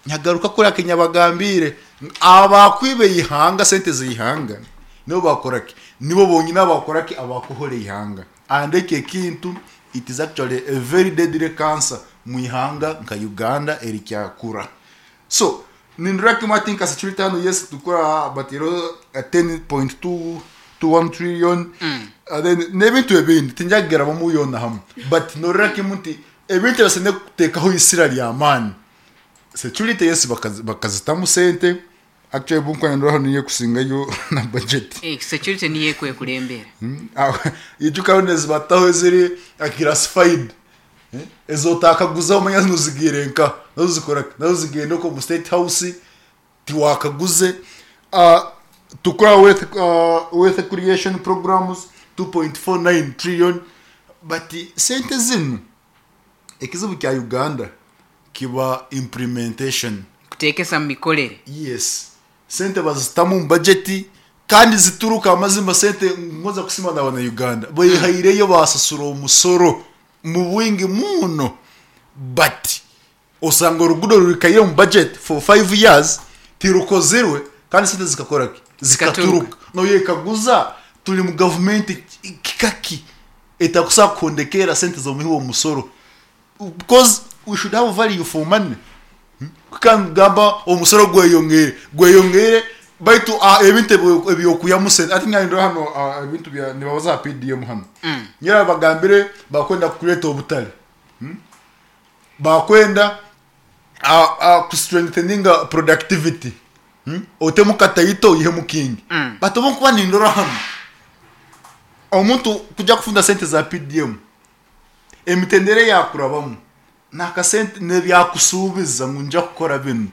Nyagaruka kuri kinyabagambiire abakwiba eihanga, sente z'eihanga nibo bakora ki? Nibo bonyine abakora ki? Abakuhora eihanga. And eki ekintu, it is actually a very deadly cancer mu ihanga nka Uganda erikyakura. So nindora kimwe ati nka security hanu, yes, tukura batiireho 10.221 trillion, then n'ebintu ebindi tinja kugerabamu yoona hamwe, but norora kimwe nti ebintu ebibasemeriire kuteekaho isira ry'amaani, security, yes, bakazitamu sente. Actually, obu nkuba nindora hanu niyo ekusingayo na budget. Security niyo ekwekulembera. Ijuka hanu ezibataho eziri classified, ezotakaguza omanya zinu zigiire nka nazo zikora ki? Nazo zigenda okwo omu State House tiwakaguze. Tukura wealth creation programs 2.49 trillion, but sente zinu, ekizibu kya Uganda kiba implementation. Kuteekesa mu mikorere. Yes, sente bazitamu omu budget kandi zituruka. Amazima, sente ngonza kusima na Uganda behaireyo, basasura omusoro mu bwingi muno, but osanga orugudo rurikaire omu budget for 5 years tirukozirwe, kandi sente zikakora ki? Zikaturuka. Noyekaguza, turi mu gavumenti kikaki etakusobola kuhondekera sente z'omuhi w'omusoro? Because we should have value for money. Kandi gamba omusoro gweyongere, gweyongere, baitu ebintu ebyokuyamu sente ati ngandora hano, ebintu bya nibabaza ha PDM hanu. Nyera bagambire bakwenda kureeta obutale, Bakwenda kustrengtheninga productivity, Otemu kataito oyihemu kingi. But obu nkuba nindora hanu, omuntu kujya kufuna sente za PDM, emitendera eyakurabamu nakasente nebyakusuubiza ngu nja kukora binu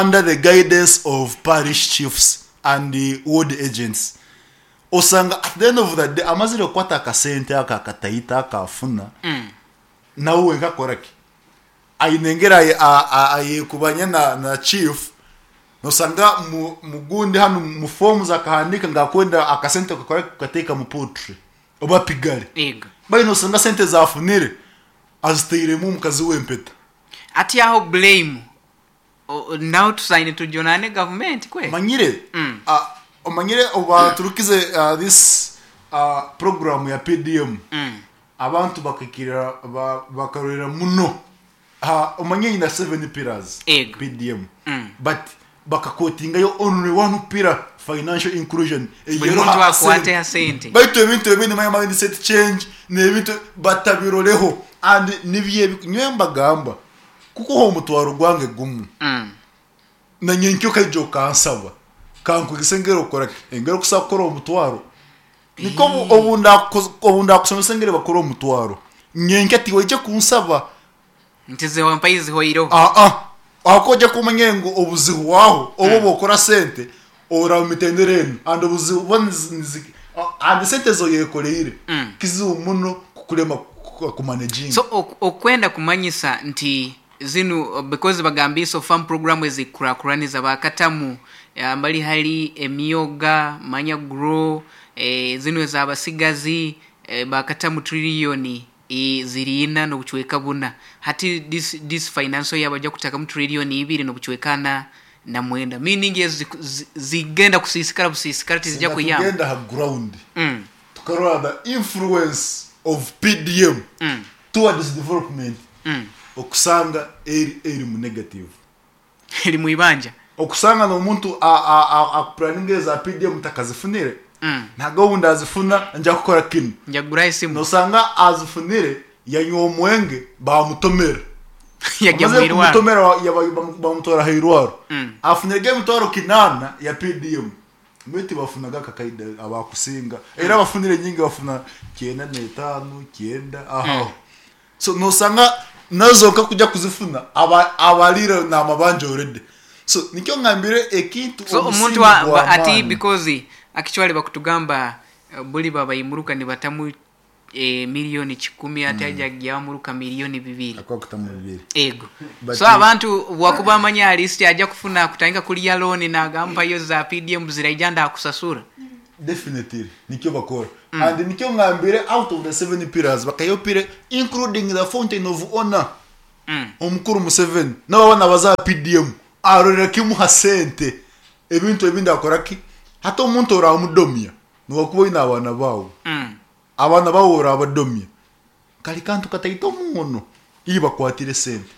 under the guidance of parish chiefs and ward agents, osanga at the end of the day amazire kukwata akasente ako akataito akafuna, nawe wenka akora ki? Aine engeri ayekubanya na chief. Nosanga mugundi hanu mu forms akahandika ngu akwenda akasente kakora kukateeka mu poultry oba piggery. Bali nosanga sente zafunire azitairemu omukazi w'empeta. Ati aho blame naho tusaine tujunane gavumenti kwe. Omanyire, omanyire obaturukize this program ya PDM, abantu bakikirira, bakarorera muno. Omanyire ina seven pillars, PDM, but bakakotingayo only one pillar, financial inclusion. Buli Eyero muntu akwate sente. Ha sente. Baitu ebintu ebindi, manya mindset change n'ebintu batabiroreho, and nibyo nyowe mbagamba kukuha omutwaro gwange gumu, na nyenkyo okaija okansaba kankwegesa engeri okukora ki, engeri okusobola kukora omutwaro, nikwo obu ndakusomesa engeri bakora omutwaro, nyenkya tiwaija kunsaba. Nti zewampaire zihoireho. Aa, ahakuba ojja kumanya ngu obuzibu bwaho obu obwokora sente oraba mitendera enu, and obuzibu buba and sente ezoyekoreire kizibu muno kukulema kumanaginga. So okwenda kumanyisa nti zinu, because bagambiise ofamu program ezikukurakuraniza bakatamu mbali hali emyoga, manya grow, zinu ez'abasigazi, bakatamu trillion ziri ina n'obucweka buna. Hati this financial year baja kutakamu trillion ibiri n'obucweka ana na mwenda, meaning ezo zigenda kusiisikara busiisikara, tizija Singa kuyamba. Tugenda ha ground, tukarora the influence of PDM towards development, okusanga eri mu negative. Eri mwibanja. Okusanga n'omuntu akupuraninga eza PDM takazifunire, ntago obundi azifuna nja kukora kinu. Nja kuguraho esimu. Nosanga azifunire yanywa omwenge, bamutomera. Yajya mu Amaze irwaro. Kumutomera, bamutwara ha irwaro. Afunire emitwaro 800 ya PDM, mbaitu tibafunaga akakaida abakusinga, era abafunire nyingi bafuna 95, 90 aho. So nosanga nazo nka kujya kuzifuna abalire namabanja already. So nikyo ngambire ekintu So omuntu omusingi ati gw'amaani. Because actually bakutugamba, buli babaimuruka nibatamu miliyoni 100, ati aja gyamuruka miliyoni 2. Akakutamu bibiri. Ego. But So abantu wakuba amanya at least aja kufuna kutandika kulya loan, nagamba za PDM ziraija ndakusasura. Definitely nikyo bakora, and nikyo ngambire out of the seven pillars bakayopire, including the fountain of honor. Omukuru Museveni n'abaana baza aha PDM arorera kimu ha sente ebintu ebindi akora ki? Hati omuntu oramudomya nowakuba oine abaana baawe, abaana baawe orabadomya kari kantu kataito muno iwe bakwatire esente.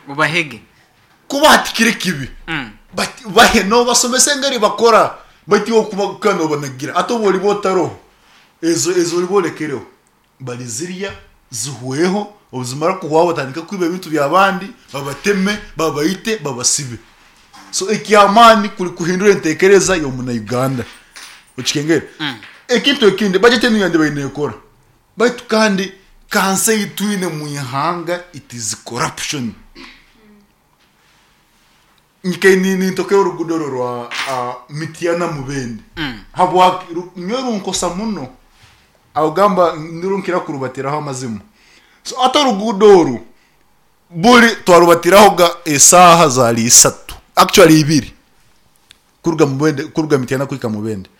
Obahege. Kuba hati kiri kibi but bahe nobasomesa engeri bakora baitu iwe okuba nobanagira hati obu oriba otaroho ezo ezi oriba orekereho barizirya zihweho obu zimara kuhwaho batandike kwiba ebintu by'abandi babateme babaite babasibe. So eky'amaani kuri kuhindura entekereza y'omunauganda okikengere. Ekintu ekindi budget enu yandibaire nekora baitu kandi kansa ei twine omu ihanga it is corruption. Nkaine nintokera oruguudo oru orwa Mityana Mubende habwaki nyowe runkosa muno ogamba nirwo nkira kurubatiraho amazima. So hati oruguudo oru buri twarubatirahoga esaaha zaari isatu actually ibiri kuruga Mubende kuruga Mityana kuhika Mubende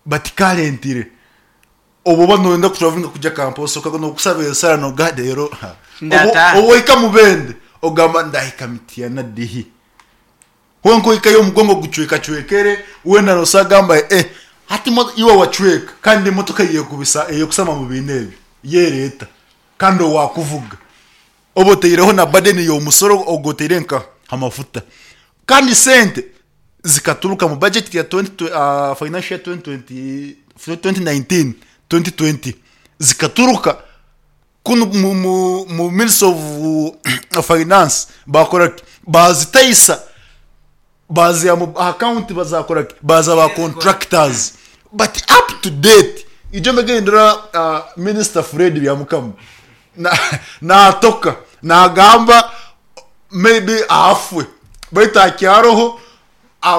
but currently Obu oba noyenda kuturavulinga kugya Kampala osooka nokusaba esara nogaha reero Ndataha. obu ohika Mubende ogamba ndahika Mityana dihi? Kwonka ohikayo omugongo gucwekacwekere weena nosobola kugamba eh hati iwe wacweka kandi emotoka eyekubisa eyekusama omu biina ebyo yereeta kandi owakuvuga oba otaireho na burden y'omusoro ogu otaire nka ha mafuta kandi sente zikaturuka mu budget ya financial year 2019, 2020 zikaturuka kunu mu ministry of finance bakora ki? Bazitaisa baziha mu account bazakora ki? Baziha ba contractors but up to date ijo mbegere nindora minister Fred Byamukama natoka nagamba maybe afwe baitu akyaroho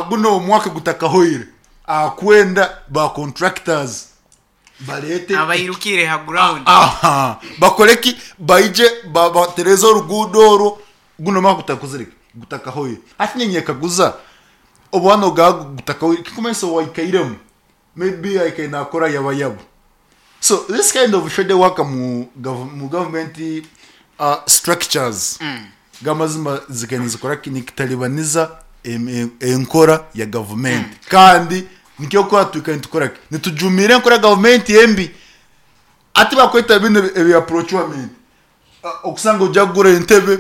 guno omwaka gutakahoire akwenda ba contractors barete Abairukire ha ground. Aha, bakore ki? Baije batereze oruguudo orwo guno omwaka gutakozire ki? Gutakahoire. Hati ninyekaguza obu hanu ogaba gutakahoire kikumanyisa owaikairemu maybe aikaire nakora yabayaba. So this kind of shady work mu government structures gamazima zikaire nizikora ki? Nikitaribaniza enkora ya gavumenti kandi nikyo orikuba twikaire nitukora ki? Nitujumirira enkora ya gavumenti embi. Hati bakweta binu ebya procurement okusanga ojya kugura entebe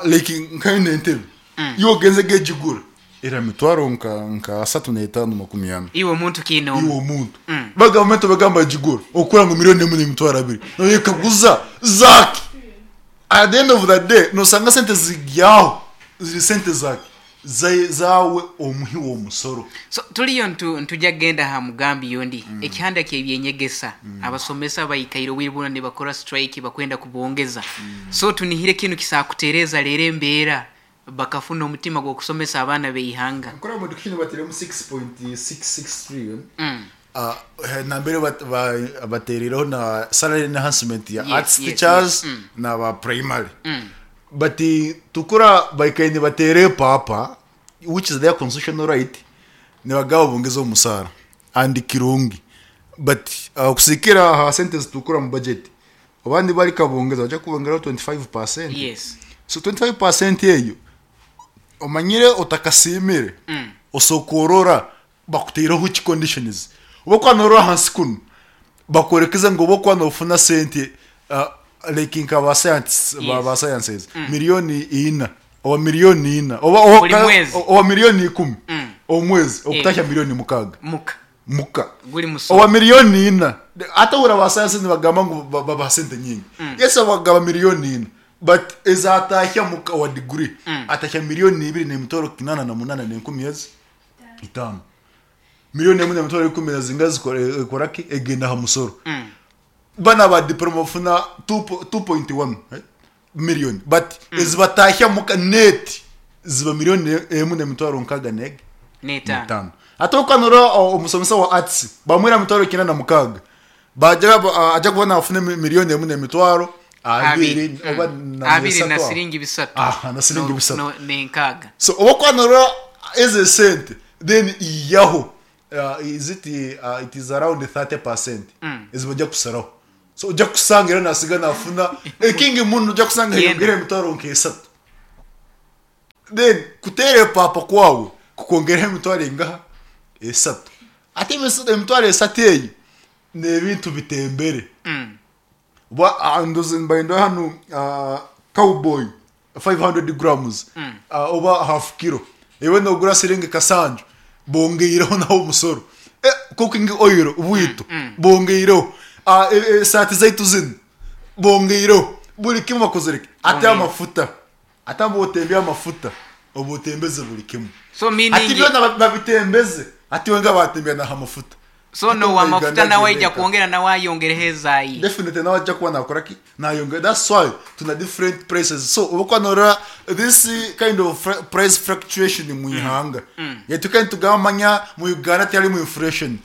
like nka enu entebe iwe ogenzege gigura era mitwaro nka asatu n'etaano makumi ana. Iwe omuntu kiine omu. Iwe omuntu. Ba gavumenti bagamba gigura okura ngu milioni emu n'emitwaro abiri. Noyekaguza zaki? At the end of the day nosanga sente ziryaho ziri sente zaki? Zaawe omuhi w'omusoro. So tuliyo ntugya kugenda ha mugambi yondi ekihanda ky'ebyenyegesa abasomesa baikaire obwire bwona nibakora strike bakwenda kubongeza so tunihire kinu kisakutereza rero embeera bakafuna omutima gw'okusomesa abaana b'eihanga. Nkora omu education bateiremu 6.66 trillion nambere batereireho na salary enhancement ya arts teachers na ba primary but tukura baikaire nibateera epaapa which is their constitutional right nibagamba bongeze omusaara and kirungi but okusigikiira aha sente ezitukura omu budget abandi barikabongeza nibaija kubongeraho 25%. So 25% eyo omanyire otakasiimire osooka orora bakutaireho ki conditions. Obu orikuba norora ahansi kunu bakworekeza ngu obu orikuba nofuna sente like nka ba scientists ba sciences milioni ina oba milioni ina Buri mwezi. oba milioni ikumi omwezi okutahya milioni mukaaga. Muka. Muka. Guri musoro. Oba milioni ina. Hati ohurira ba science nibagamba ngu babaha sente nyingi. Yes bagaba milioni ina but ezatahya muka owa degree atahya milioni ibiri n'emitwaro kinaana na munaana n'enkumi ezi itaano. Milioni emwe n'emitwaro ikumi na zingahi zikora ki? Egenda aha musoro. Banu aba diploma bafuna 2.1 million but ezibatahya muka net ziba milioni emwe n'emitwaro nkaaga n'egi N'etaano. Hati orikuba norora omusomesa wa arts bamuhaire emitwaro kinaana na mukaaga bagira aja kuba nafuna milioni emwe n'emitwaro abiri oba na Abiri na siringi bisatu. Aha, na siringi bisatu. N'enkaaga. So obu orikuba norora ezo esente then ihaho is it, it is around 30% ezi bajya kusaraho. So ojja kusanga era nasiga nafuna ekingi muno, ojja kusanga Yenda. yongera emitwaro nk'esatu. Then kuteera epaapa kwawe kukwongeraho emitwaro engaha? Esatu. Ate emitwaro esatu eyo n'ebintu bitembere. Oba ndozi mbaire hanu, Cowboy 500 grams, oba half kilo, iwe nogura siringi kasanju, bongeireho naho omusoro. Cooking oil bwito bongeireho, saati zaitu zinu bongeireho, buli kimu bakozere ki? Ate amafuta, ate oba amafuta oba otembeze buli kimu. So Ati meaning byona babitembeze, ati wenga batembea naho amafuta. So Ate no omu amafuta Uganda nawe aija agenda eka. kwongera, nawe ayongereho ezaayi. Definitely nawe ajja kuba nakora ki? Nayongera. That's why tuna different prices. So oba norora this kind of price fluctuation mu ihanga yetu, kandi tugamanya mu Uganda tiyari mu inflation,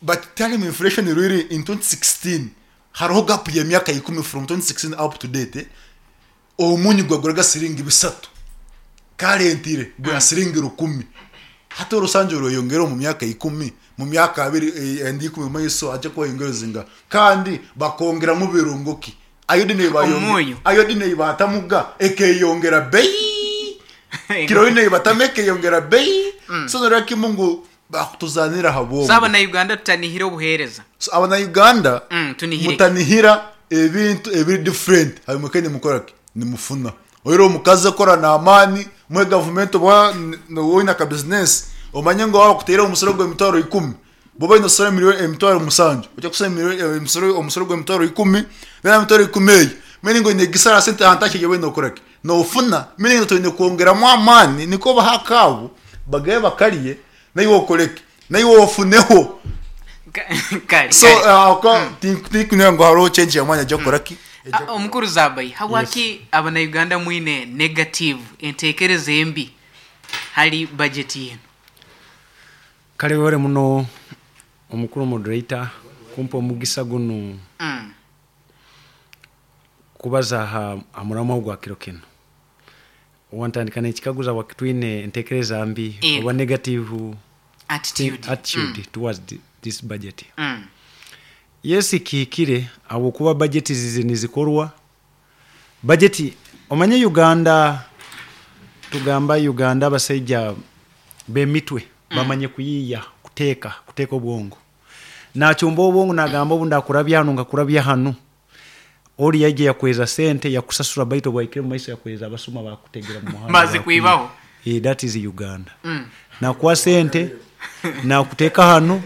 but tiyari mu inflation really. In 2016 hariho gap y'emyaka 10, from 2016 up to date, omunyu gwaguraga siringi 300, karentire gwa siringi 1000. Hati orusanju rweyongera mu myaka 10, mu myaka 2, endi 10 mu maiso ajja kuba yongereza, kandi bakongeramu birungo ki? Iodine. Omunyu. Iodine batamuga ekeyongera bei, kiroine batama ekeyongera bei. So norora kimu ngu bakutuzanira habwongo. So abana Uganda tutanihire obuheereza. So abana Uganda Tunihire. Mutanihira ebintu ebiri different, habimwe nimukora ki? Nimufuna oire omukazi akora n'amaani mwe gavumenti, oba woine aka business, omanye ngu waba kuteera omusoro gw'emitwaro 10, boba oine osora miliyoni 70,000, ojja kusora omusoro gw'emitwaro 10, then emitwaro 10 eyo meaning oine gisara sente ahantu akye yowe nokora ki? Nofuna. Meaning twine kwongeramu amaani niko baha akaabo bagaye bakariye, naiwe okoreke, naiwe ofuneho. Kale. So Kale. Tinkunira ngu hariho change y'amaani ajja kukora ki? Ah, omukuru Zabai, habwaki abana Uganda mwine negative entekereza embi hali budget yenu? Kale webale muno omukuru moderator kumpa omugisa gunu kubaza ha muramwa gwa kiro kino. Wantandika nekikaguza wakitwine entekereza mbi oba negative attitude, attitude towards this budget. Yes, kihikire, habwokuba budget zizi nizikorwa budget. Omanye Uganda, tugamba Uganda abasaija bemitwe bamanye kuyiya, kuteeka obwongo, nachumba obwongo, nagamba obu ndakurabya hanu, ngakurabya hanu, ori yaija yakweza sente yakusasura, baitu bwaikire mu maiso yakweza abasuma bakutegera mu muhanda. Mazi kuibaho. That is Uganda. Nakuwa sente, nakuteeka hanu,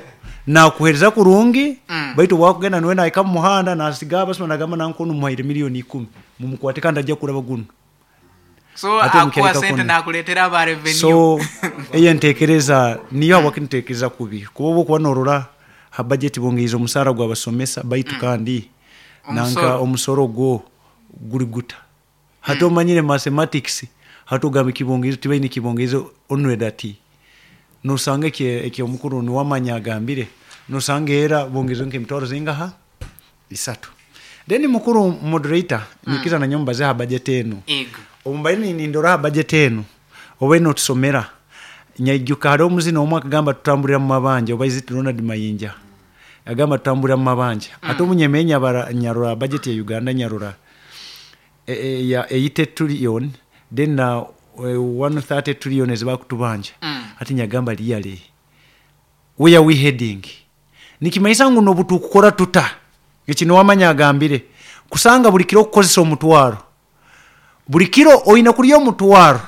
nakuhereza kurungi, baitu bwakugenda niwe nahika mu muhanda nasiga abasuma, nagamba nankono muhaire miliyoni 10, mumukwate kandi ajja kuraba guno. So Ate akuwa omukereka sente kunu. Nakuleetera aba revenue. So eyo entekereza niyo habwaki ntekereza kubi, kuba oba okuba norora ha budget bongeize omusaara gw'abasomesa, baitu kandi nanka Omusoro. Omusoro gwo guri guta hati omanyire mathematics, hati ogamba ekibongeizo tibaine ekibongeizo onwed ati nosanga eki omukuru niwamanya agambire, nosanga era bongeize nk'emitwaro zingaha? 3. Then mukuru moderator, nikiza nanyo mbaze ha budget eno. Ego. Obu mbaire nindora ha budget eno oba enotusomera, nyaijuka hariho omuzina omwe akagamba tutambulira mu mabanja, oba is it Ronald Mayinja agamba tutambulira mu mabanja. Ate omunyemeye nyabara nyarora budget ya Uganda, nyarora ya 80 trillion, then na 130 trillion ezibakutubanja. Ati nyagamba, really, where we heading? Nikimaisa ngu nobutukukora tuta eki niwamanya agambire kusanga buli kiro okukozesa omutwaro, buli kiro oine kurya omutwaro,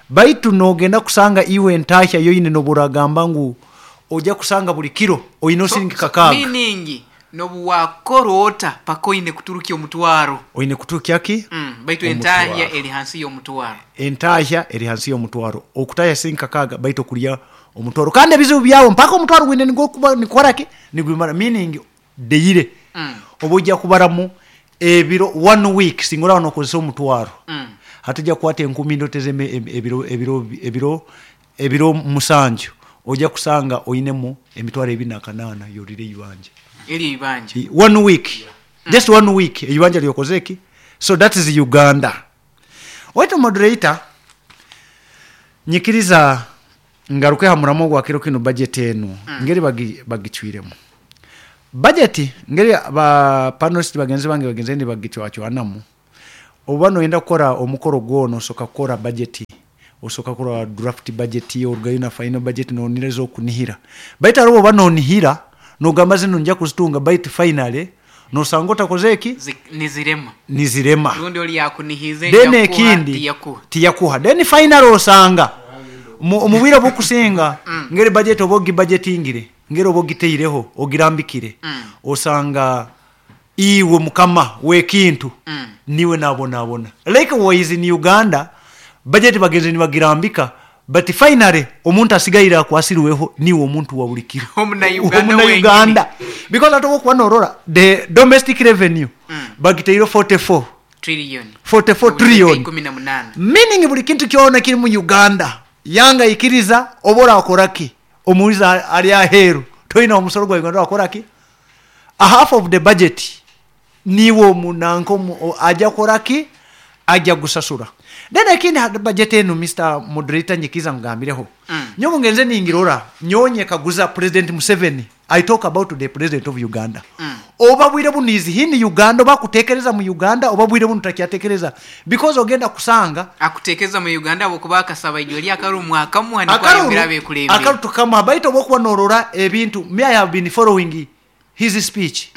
baitu nogenda kusanga iwe entahya yoine noburagamba ngu ojja kusanga buli kiro oine osiringi 6. Meaning nobu wakora ota paka oine kuturukya omutwaro. Oine kuturukya ki? Baitu Omutwaro. entahya eri hansi y'omutwaro. Entahya eri hansi y'omutwaro, okutahya siringi 6, baitu okurya omutwaro, kandi ebizibu byawe mpaka omutwaro gwine nigwokuba nikoraki nigwimara, meaning deire oba ojja kubaramu ebiro one week singa oraba nokozesa omutwaro. Hati ojja kukwata enkumi ndoteze ebiro 7, ojja kusanga oinemu 208,000 yorire ibanja. Eri ibanja. One week, just one week, ibanja lyokoze ki? So that is Uganda. Waitu moderator, nyikiriza ngaruke ha muramo gwa kiro kino, budget eno ngeri bagicwiremu. Budget ngeri ba panelist bagenzi bange bagenze nibagicwacwanamu, oba noyenda kukora omukoro gwona osoka kukora budget, osoka kukora draft budget, orugayo na final budget, nonireza okunihira. Baitu hariho oba nonihira nogamba zino nja kuzitunga, baitu finally nosanga otakoze eki? Nizirema. Nizirema. Rundi oli yakunihize then nja kuha, ekindi tiyakuha. Tiyakuha. Then final osanga omu bwire bukusinga ngeri budget oba ogibudgetingire, ngeri oba ogiteireho ogirambikire, osanga iwe mukama w'ekintu niwe nabonabona. Likewise in Uganda budget bagenze nibagirambika, but finally omuntu asigaire akwasirweho niwe omuntu wa buli kiro. Omunayuganda Omunayuganda. wenyini. Because ate okuba norora the domestic revenue bagiteire 44 trillion. 44 Obuteeka trillion. 18. Meaning buli kintu kyona kiri mu Uganda yanga ikiriza oba orakoraki omuwiza ali aheru toyina omusoro gwa Uganda wakoraki a half of the budget niwe omunanka ajja koraki ajja gusasura. Then ekindi ha budget eno, Mr. Moderator, nyikiza ngambireho nyowe ngenze ningirora nyonye kaguza President Museveni. I talk about the president of Uganda. Oba bwire bunizi hini Uganda oba kutekereza mu Uganda oba bwire bunu takyatekereza, because ogenda kusanga akutekeza mu Uganda abo kuba akasaba ijyo lya akaru mwaka muhani kwa Akaru- yongera bekulembe. Akaru tukama baito bokuba norora ebintu. Me, I have been following his speech.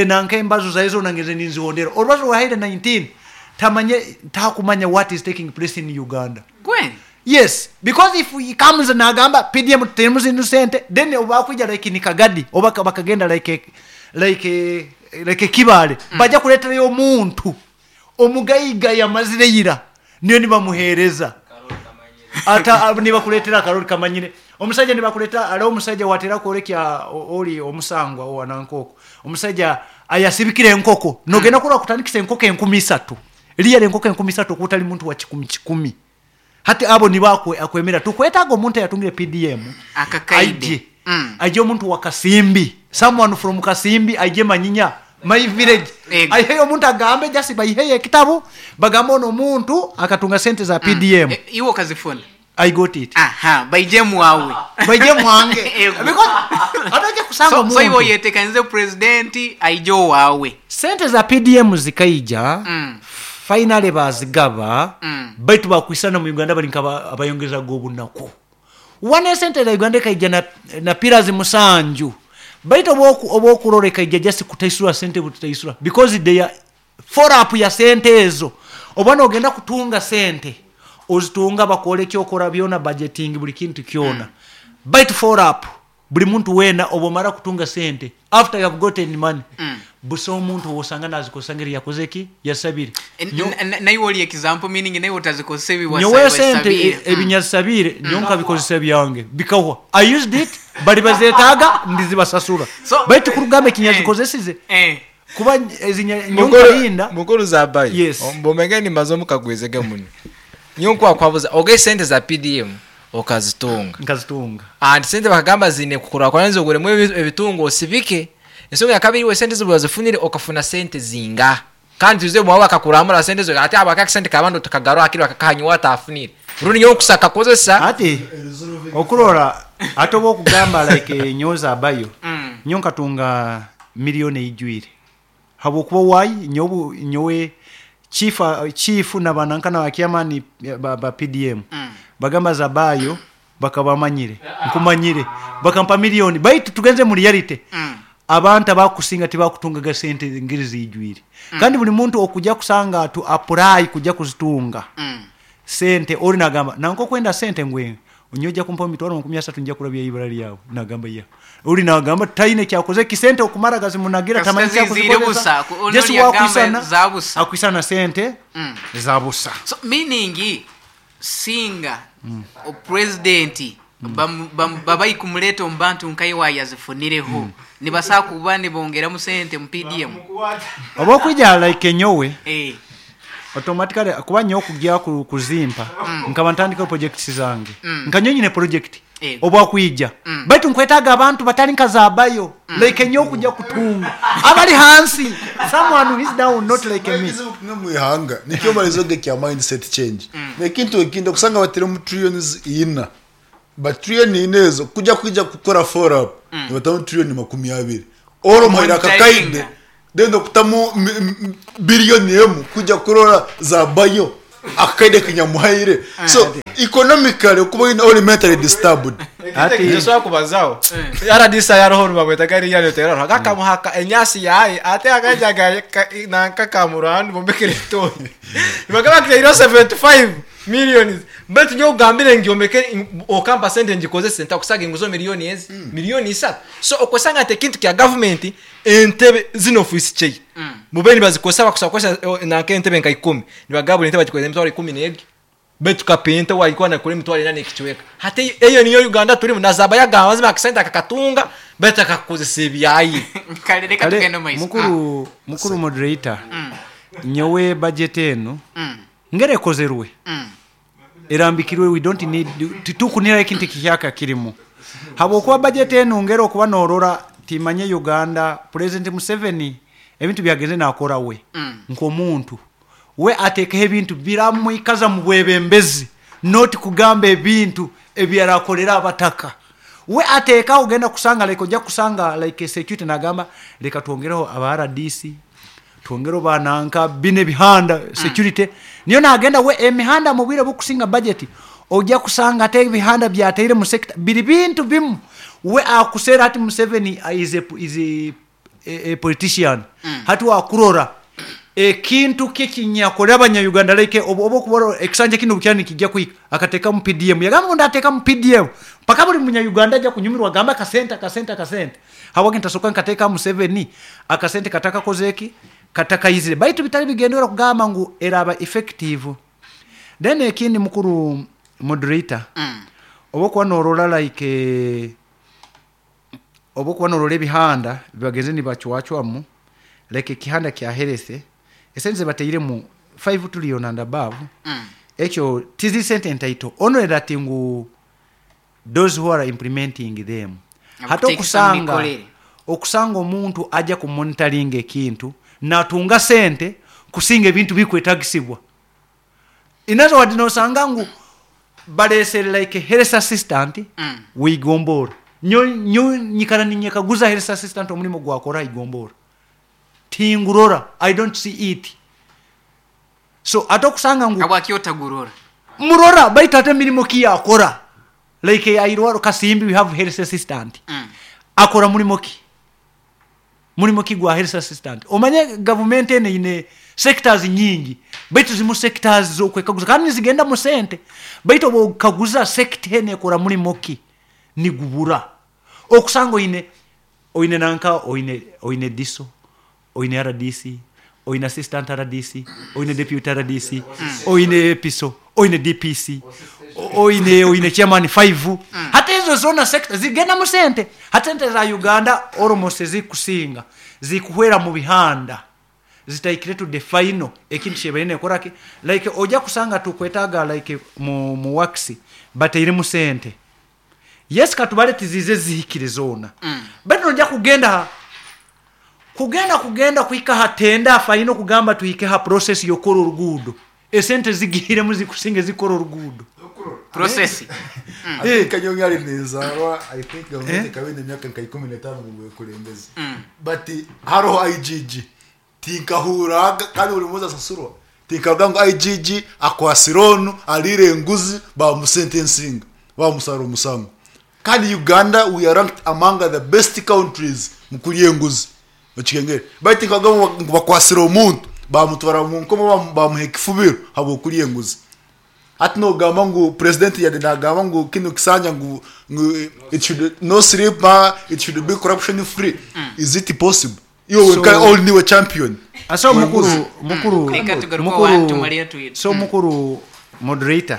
Nanka embazo za ezo nangeze ninzihondera orubazo rwa 19 tamanye takumanya what is taking place in Uganda. Kweli? Yes, because if he comes nagamba PDM terms innocent, then obakuja like ni Kagadi oba bakagenda like Kibale. Bajja kuleterayo omuntu omugayiga yamazire yira niyo nibamuhereza ata nibakuletera akarori kamanyire omusajja nibakuleta ali omusajja watera kwolekya oli omusangwa owanankoko omusajja ayasibikire enkoko nogenda kurora kutandikisa enkoko 3000 liyale enkoko 3000 okutali muntu wa kikumi kikumi hati abo nibakwe akwemera tukwetaga omuntu yatungire PDM Akakaide. aije. Aije omuntu wa Kasimbi, someone from Kasimbi aije Manyinya my village. Ego. Aiheyo omuntu agambe jasi baiheye ekitabo bagambe ono omuntu akatunga sente za PDM. Iwe okazifuna? I got it. Aha, baije mwawe. Baije mwange. Ego. Because ataje kusanga So iwe omuntu. yetekanize president aije wawe. Sente za PDM zikaija. Finally bazigaba. Baitu bakwisana mu Uganda bali nkaba abayongeza gobunaku. Wane sente za Uganda kaija na pillars 7. Baitu obokurore kaija just kutaisura sente butaisura because they are follow up ya sente ezo. Obwana ogenda kutunga sente ozitunga bakole kyokora byona budgeting buli kintu kyona. Baitu follow up buli muntu wena obomara kutunga sente after you have gotten money. Buso omuntu wosanga nazikosangeri yakozeki yasabire. Nayo oli example meaning nayo utazikose ebi Nyowe sente wasabire. Ebinyasabire nyonka bikozesa byange bikahwa. I used it bali bazetaga ndizibasasura. Baitu kurugamba kinyazikozesize. Kuba ezinya nyonka linda mukuru zabayi. Yes. Mbomenge ni mazomu kagwezege muno. Nyonko akwabuza oge sente za PDM okazitunga. Nkazitunga. And sente bakagamba zine kukura kwanza oguremu ebitungo osibike. Ensonga ya kabiri we sente zibazifunire okafuna sente zinga. Kandi tuze mwawa akakuramura sente zo ate abaka sente kabando tukagarwa akiri bakakanywa atafunire. Rundi nyo kusaka kozesa. Ati okurora atobo okugamba like nyoza abayo. Nyo nkatunga milioni ijwire. Habwokuba wai nyobu nyowe chief na banankana wa kiamani ba PDM. Bagamba zabayo bakabamanyire nkumanyire bakampa milioni baitu tugenze mu reality. Abantu abakusinga tibakutungaga sente ngiri zijwire. Kandi buli muntu okujja kusanga tu apply kujja kuzitunga. Sente ori nagamba nanko kwenda sente ngwe onyoja kumpa mitwaro 30 nja kurabya ibara lyawe nagamba ya ori nagamba taine kyakoze kisente okumara gazi munagira Kasita tamanyi zizire kyakuzikozesa. busa, ono Yesu yagamba wakwisana, za busa. akwisana sente za busa. So meaning singa o president babayi kumuleta omubantu nkaye wayazifunireho. Nibasa kuba nibongera mu sente mu PDM. Oba okwijja like nyowe. Automatically kuba nyo okujja kuzimpa. Nkaba ntandika projects zange. Nka nyine project. Oba kwijja. Baitu nkwetaga abantu batali nkazabayo. Like nyo okujja kutunga. Abali hansi. Someone who is down not like me. No muihanga. Nikyo balizoge kya mindset change. Nekintu ekintu kusanga batire mu trillions ina. Ba trillion inezo kujja kujja kukora follow up. Ni batamu trillion 20. Oro muhaire akakaide Monitoringa. then okutamu biliyoni emu kujja kurora za bayo akakaide kinyamuhaire. So economically okuba oyine ori mentally disturbed. Ati- Nsobola kubazaho rdc yaroho rubamwetaga eriya nyoteraro gakamuhaka enyasi yaye ate akajaga nanka kamurandi bombekere etoyi bagaba kitairo 75 millions but nyo ugambire ngiombeke okampa sente ngikozese ntakusaga inguzo miliyoni ezi miliyoni isatu. So okwesanga ati ekintu kya government entebe zino ofisi chei mube nibazikozesa bakusa kukozesa nanka entebe nka 10 nibagabura entebe bagikozesa emitwaro 11 betu kapenta walikuwa nakora emitwaro ena n'ekicweka. Hati eyo niyo Uganda turimu nazaba yagamba mazima akasente akakatunga betu akakozesa ebyaye. Kale reka Kale, tugende maiso. mukuru moderator, nyowe budget eno ngere ekozerwe erambikirwe, we don't need titukunira ekintu kihyaka kirimu habwokuba budget eno ngere okuba norora timanye Uganda President Museveni ebintu byagenze nakora we nk'omuntu we atekeho ebintu biramwikaza mu bwebembezi, not kugamba ebintu ebyarakolera abataka. We ateekaho ogenda kusanga like ojja kusanga like security nagamba reka twongereho aba RDC twongereho bananka bine ebihanda security niyo nagenda we emihanda mu bwire bukusinga budget ojja kusanga ate ebihanda byateire mu sector biri bintu bimu we akusera ati Museveni is a politician. Hati wakurora ekintu kekinyakolera abanya-Uganda like oba okubora ekisanja kino bukyani kijja kuhika akateeka mu PDM yagamba ngu ndateeka mu PDM paka buli munya-Uganda ajja kunyumirwa agamba akasente akasente akasente habwaki ntasoka nkateeka Museveni akasente katakakoze eki katakayizire baitu bitali bigendera kugamba ngu eraba effective. Then ekindi mukuru moderator, oba okuba norora like oba okuba norora ebihanda bibagenze nibacwacwamu like ekihanda kya health esente zebateiremu 5 trillion and above, ekyo tizi sente ntaito only that ngu those who are implementing them hata Abakuteekesa mu mikolere. okusanga omuntu ajja ku monitoring ekintu natunga sente kusinga ebintu bikwetagisibwa. In other words, nosanga ngu balesere like health assistant wigombora nyo nyikara ninyekaguza health assistant omulimo gwakora igombora tingurora, I don't see it. So ate okusanga ngu Habwaki otagurora murora baitu ate emirimu ki yakora like airwaro Kasimbi, we have health assistant akora mulimo ki mulimo ki gwa health assistant. Omanye government ene ine sectors nyingi baitu zimu sectors zokwekaguza kandi zigenda mu sente baitu obukaguza sector ene ekora mulimo ki nigubura okusanga oine nanka oine DISO oine RDC oine assistant RDC oine deputy RDC oine EPISO oine DPC oine chairman 5 hata ezo zona sector zigenda mu sente hata sente za Uganda almost zikusinga zikuhwera mu bihanda zitaikire to the final ekintu kyebaine koraki like ojja kusanga tukwetaga like mu wax bateire mu sente yes katubale tizize zihikire zona bado ojja kugenda kuhika hatenda final kugamba tuhike ha process yokora orugudo esente zigiremu zikusinge zikora orugudo process. I think Kanyonyi ali nenzarwa, I think government ikaba emyaka nka 15 mu bwekulembeze. But hariho IGG tinkahuraga kandi buri muzi asasurwa tinkavuga ngo IGG akwasira onu alire enguzi bamusentensinga bamusara omusango. Kandi Uganda we are ranked among the best countries mu kulya enguzi okikengere baitu tinkavuga ngo bakwasira omuntu bamutwara mu nkomo bamuha ekifubiro habw'okulya enguzi. Ati nogamba ngu president yade nagamba ngu kino kisanja ngu it should no sleep, it should be corruption free. Is it possible? Iwe so, all new champion. Aso mukuru so mukuru moderator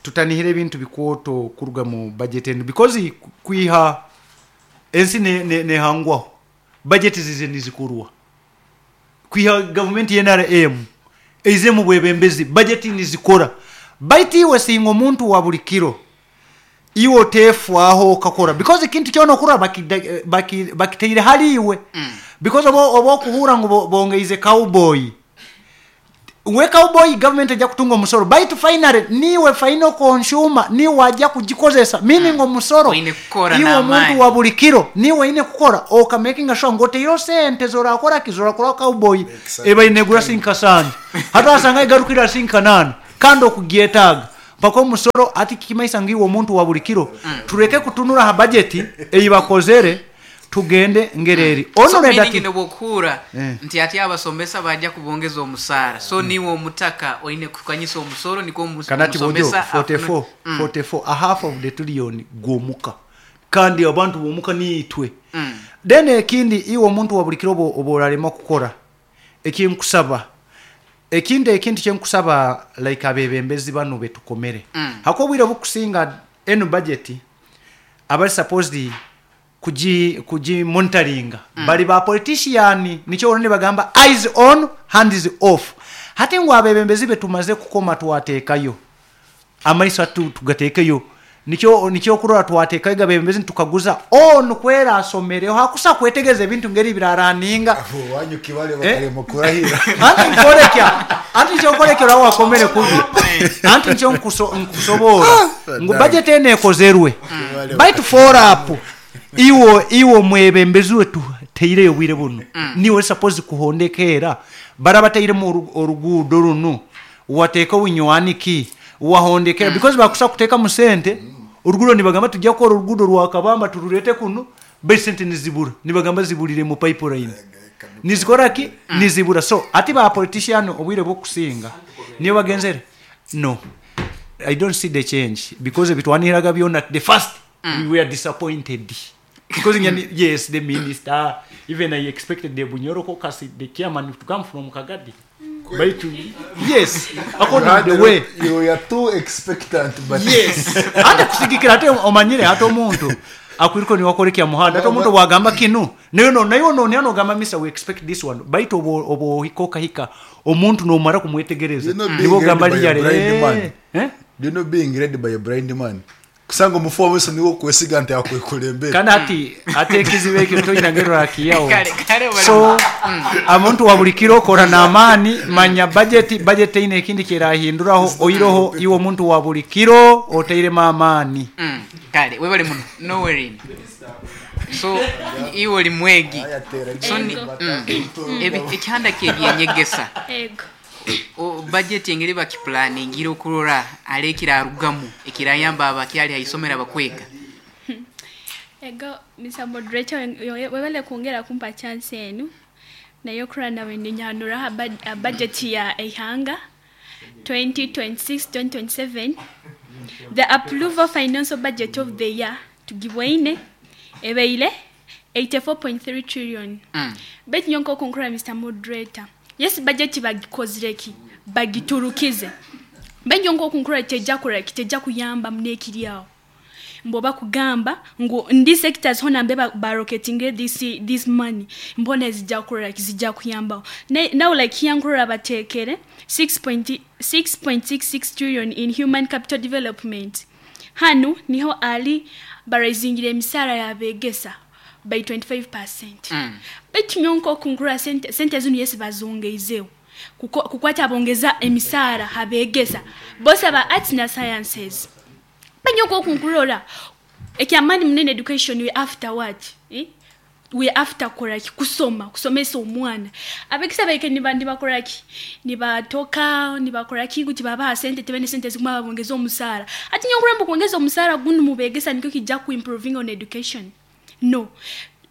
tutanihire ebintu bikwoto kuruga mu budget eno because kwiha ensi ne hangwaho budget zize nizikurwa kwiha government NRM eize mu bwebembezi budget nizikora baitu iwe singa omuntu wa buli kiro iwe oteefwaho okakora because ekintu kyona okura bakiteire hali iwe because oba okuhura ngu bongeize cowboy We cowboy government ejja kutunga omusoro, baitu finally niwe final consumer, niwe wajja kugikozesa, meaning omusoro Oine kukora iwe n'amaani. omuntu wa buli kiro niwe oine kukora okamakinga sure ngu oteiro sente zorakora ki, zorakora cowboy eba inegura sinkasani hata wasanga igarukira sinkanana kandi okugyetaaga mpaka omusoro. Ati kikimaisa ngu iwe omuntu wa buli kiro tureke kutunura ha budget eyi bakozere, tugende ngereri So ono meaning ati nobwokuhura Eh. nti ati abasomesa bajja kubongeza omusaara, so niwe omutaka oine kukanyisa omusoro niko Kanati bojo omusomesa 44 44, a half of the trillion gwomuka, kandi abantu bomuka niitwe. Then ekindi, iwe omuntu wa buli kiro oba orarema kukora ekinkusaba, ekindi ekintu kyenkusaba like abebembezi bano betukomere, hako obwire bukusinga eno budget abali supposed kugi monitoringa bali ba politician, nikyo olwo bagamba eyes on, hands off. Hati ngu abebembezi betumaze kukoma twateekayo amaiso atu tugateekeyo, nikyo kurora twateekayo gabebembezi nitukaguza ono kwera asomereho hakusa kwetegereza ebintu ngeri biraraninga. Wanyu kibale bakarema kurahira. Anti nkolekya, anti nkyokolekya orawo wakomere kubi, anti nkyo nkusobora ngu budget eno ekozerwe, baitu follow up iwo mwebembezi wetu teireyo bwire buno niwe suppose kuhondekera barabatairemu oruguudo runo wateeka winywani ki wahondekera, because bakusa kuteeka mu sente oruguudo nibagamba tujja kukora oruguudo rwa Kabamba tururete kuno, baitu sente nizibura, nibagamba ziburire mu pipeline, nizikora ki, nizibura. So ati ba politician obwire bwokusinga niyo bagenzere. No, I don't see the change, because ebitwaniraga byona the first we were disappointed because yes, the minister, even I expected the Bunyoro caucus, the chairman to come from Kagadi, but yes, according to the way You were too expectant, but yes, ate kusigikira ate omanyire ate omuntu akwiriko niwakorekya muhanda, ate omuntu bwagamba kinu nayo no nayo no nayo nogamba misa we expect this one, baitu obo ohika okahika omuntu nomara kumwetegereza You know, being nibo ogamba led by a liyare blind man. Eh? Do you know being led by a blind man, kusanga omufu wamaiso niwe okwesiga nti akwekulembera. Kandi ati ate ekizibu ekyo toyina akiyawo. Kale, kale So omuntu wa buli kiro kora n'amaani, manya budget eine ekindi kyerahinduraho oiroho iwe omuntu wa buli kiro oteiremu amaani. Kale webale muno nowerin, so iwe oli mwegi, so ekihanda kyebyenyegesa. Ego. Budget engeri bakiplaningire okurora ali ekirarugamu ekirayamba abakyali haisomero abakwega. Ego, Mr. Moderator, webale kwongera kumpa chance enu naye okurora nawe ninyanura ha budget ya eihanga 2026-2027. The approval financial budget of the year tugibwaine ebeile 84.3 trillion. Baitu nyonka okunkura Mr. Moderator, yes, budget bagikozireki bagiturukize, baitu nyonka okunkura tejja kuraki, tejja kuyamba munekiri awo mbo bakugamba ngu ndi sectors hona mbe baroketinge this money mbona zijja kuraki, zijja kuyambaho. Now like here nkurora batekere 6.66 trillion in human capital development, hanu niho ali baraisingire emisara yabegesa by 25%. Baitu nyonka okunkura sente zinu yesi bazongeizeho kukwata bongeza emisara habegesa bose aba arts na sciences. Banyoko okunkurora ekyamani munene education, we after what, eh? We after koraki, kusoma, kusomesa omwana. Abekisa baike nibandi bakoraki, nibatoka nibakoraki kuti babaha sente tebene sente ziguma babongeza omusara. Ati nyonkura mbu kuongeza omusara gunu mubegesa nikyo kijja ku improving on education? No,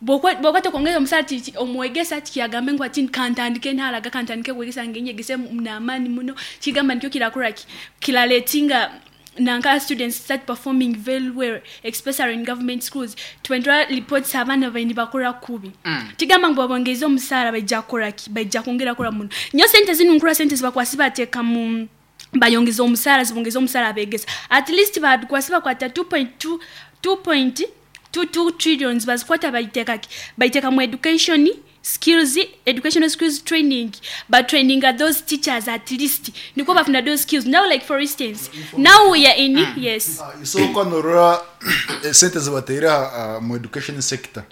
bokwata kuongeza omusara omwegesa tikiyagambe ngu ati kantandike ntaraga kantandike kwegesa ngenyegese n'amaani muno, kigamba nikyo kirakoraki kiraletinga nanka students start performing very well, especially in government schools. Twendra reports abaana baini bakora kubi. Tigamba ngu babongeze omusara baija koraki, baija kwongera kora muno nyo sente zinu nkura sente zibakwasi bateeka mu bayongeza omusara, zibongeza omusara abegesa at least bakwasi bakwata 2.2 2.22 trillions bazikwata baiteeka ki, baiteeka mu education. Skills, educational skills training, but training at those teachers at least niko bafuna those skills. Now, like for instance, now we are in, yes. Isoko norora sente zibateire mu education sector,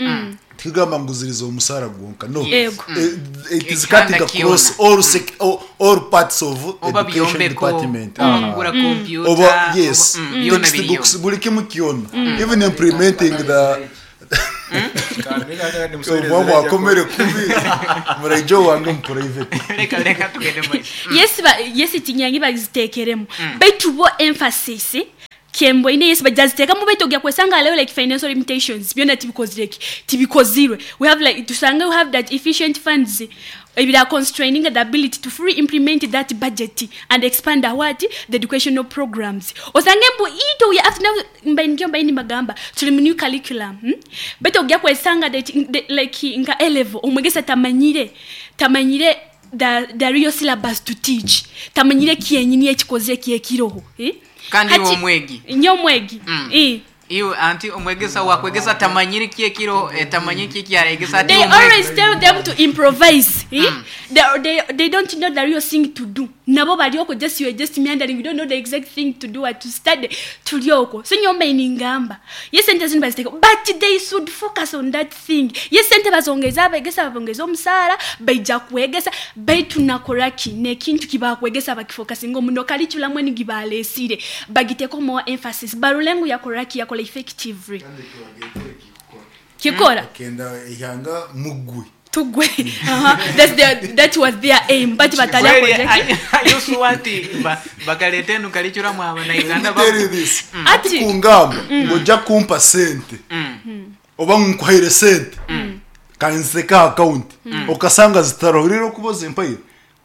tikugamba ngu ziriza omusara gwonka, no. Yego. It is cutting Ekihanda across kiona. all parts of Oba education byombeko, department. oba kugura kompyuta, Oba, yes, byona biriyo. textbooks, buli kimu kyona, even implementing the oba mwakomere kubi muraijo wange mu private. Reka reka tugende mu maiso. Yes, yes, tinyangi bazitekeremu, baitu bo emphasis kemboine, yes, bajaziteekamu, baitu ogya kwesanga leo like financial limitations byona tibikozireki, tibikozirwe. We have like tusange we have that efficient funds ebira constraining the ability to fully implement that budget and expand the what, the educational programs. Osange mbu ito we have now mbaini mbaini magamba tuli mu new curriculum, Baitu ogya kwesanga that like nka A level omwegesa tamanyire the real syllabus to teach, tamanyire kyenyini ekikoze kyekiroho, eh? Kandi Hati- iwe omwegi. Nyo omwegi. Eh. Iwe anti omwegesa wakwegesa tamanyire kyekiro, tamanyire kyekyaregesa ati They omwegi. always tell them to improvise, eh? They don't know the real thing to do. Nabo balioko just, you are just meandering, you don't know the exact thing to do or to study. Tulioko so nyomba iningamba, yes, sente zino baziteka, but they should focus on that thing. Yes, sente bazongeza, abegesa babongeza omusaara, baija kwegesa, baitu nakoraki nekintu kibakwegesa bakifokasinga omuno curriculum eni gibalesire bagiteko more emphasis, barulengu yakoraki yakola effectively kikora. Kenda ihanga mugwe. Tugwe. That was their aim, but batali Kweli, akozeki. Yosuwa nti bakaleta enu curriculum abanauganda Let me tell you this. Ati Kungamba ng'ojja kumpa sente oba nkuhaire sente kanziteka akawunti okasanga zitaroho rero okuba ozimpaire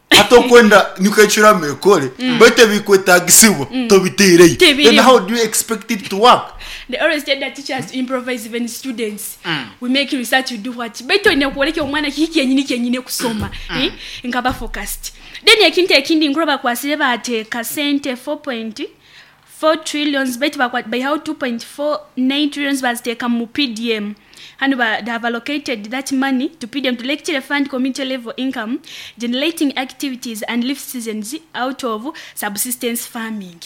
hati okwenda nikecurama ekore baitu ebikwetagisibwa tobiteireyo. Tebirimu. Then how do you expect it to work? They always tell the teachers to improvise, even students. We make research, we do what, baitu olina kwoleka omwana kiki kyenyini kyenyini kusoma, eh? Nkaba focused. Then ekintu ekindi nkuru bakwasire bateeka sente 4.4 trillions, baitu baihaho 2.49 trillions baziteeka mu PDM. Hano they have allocated that money to PDM to lecture fund community level income generating activities and lift citizens out of subsistence farming.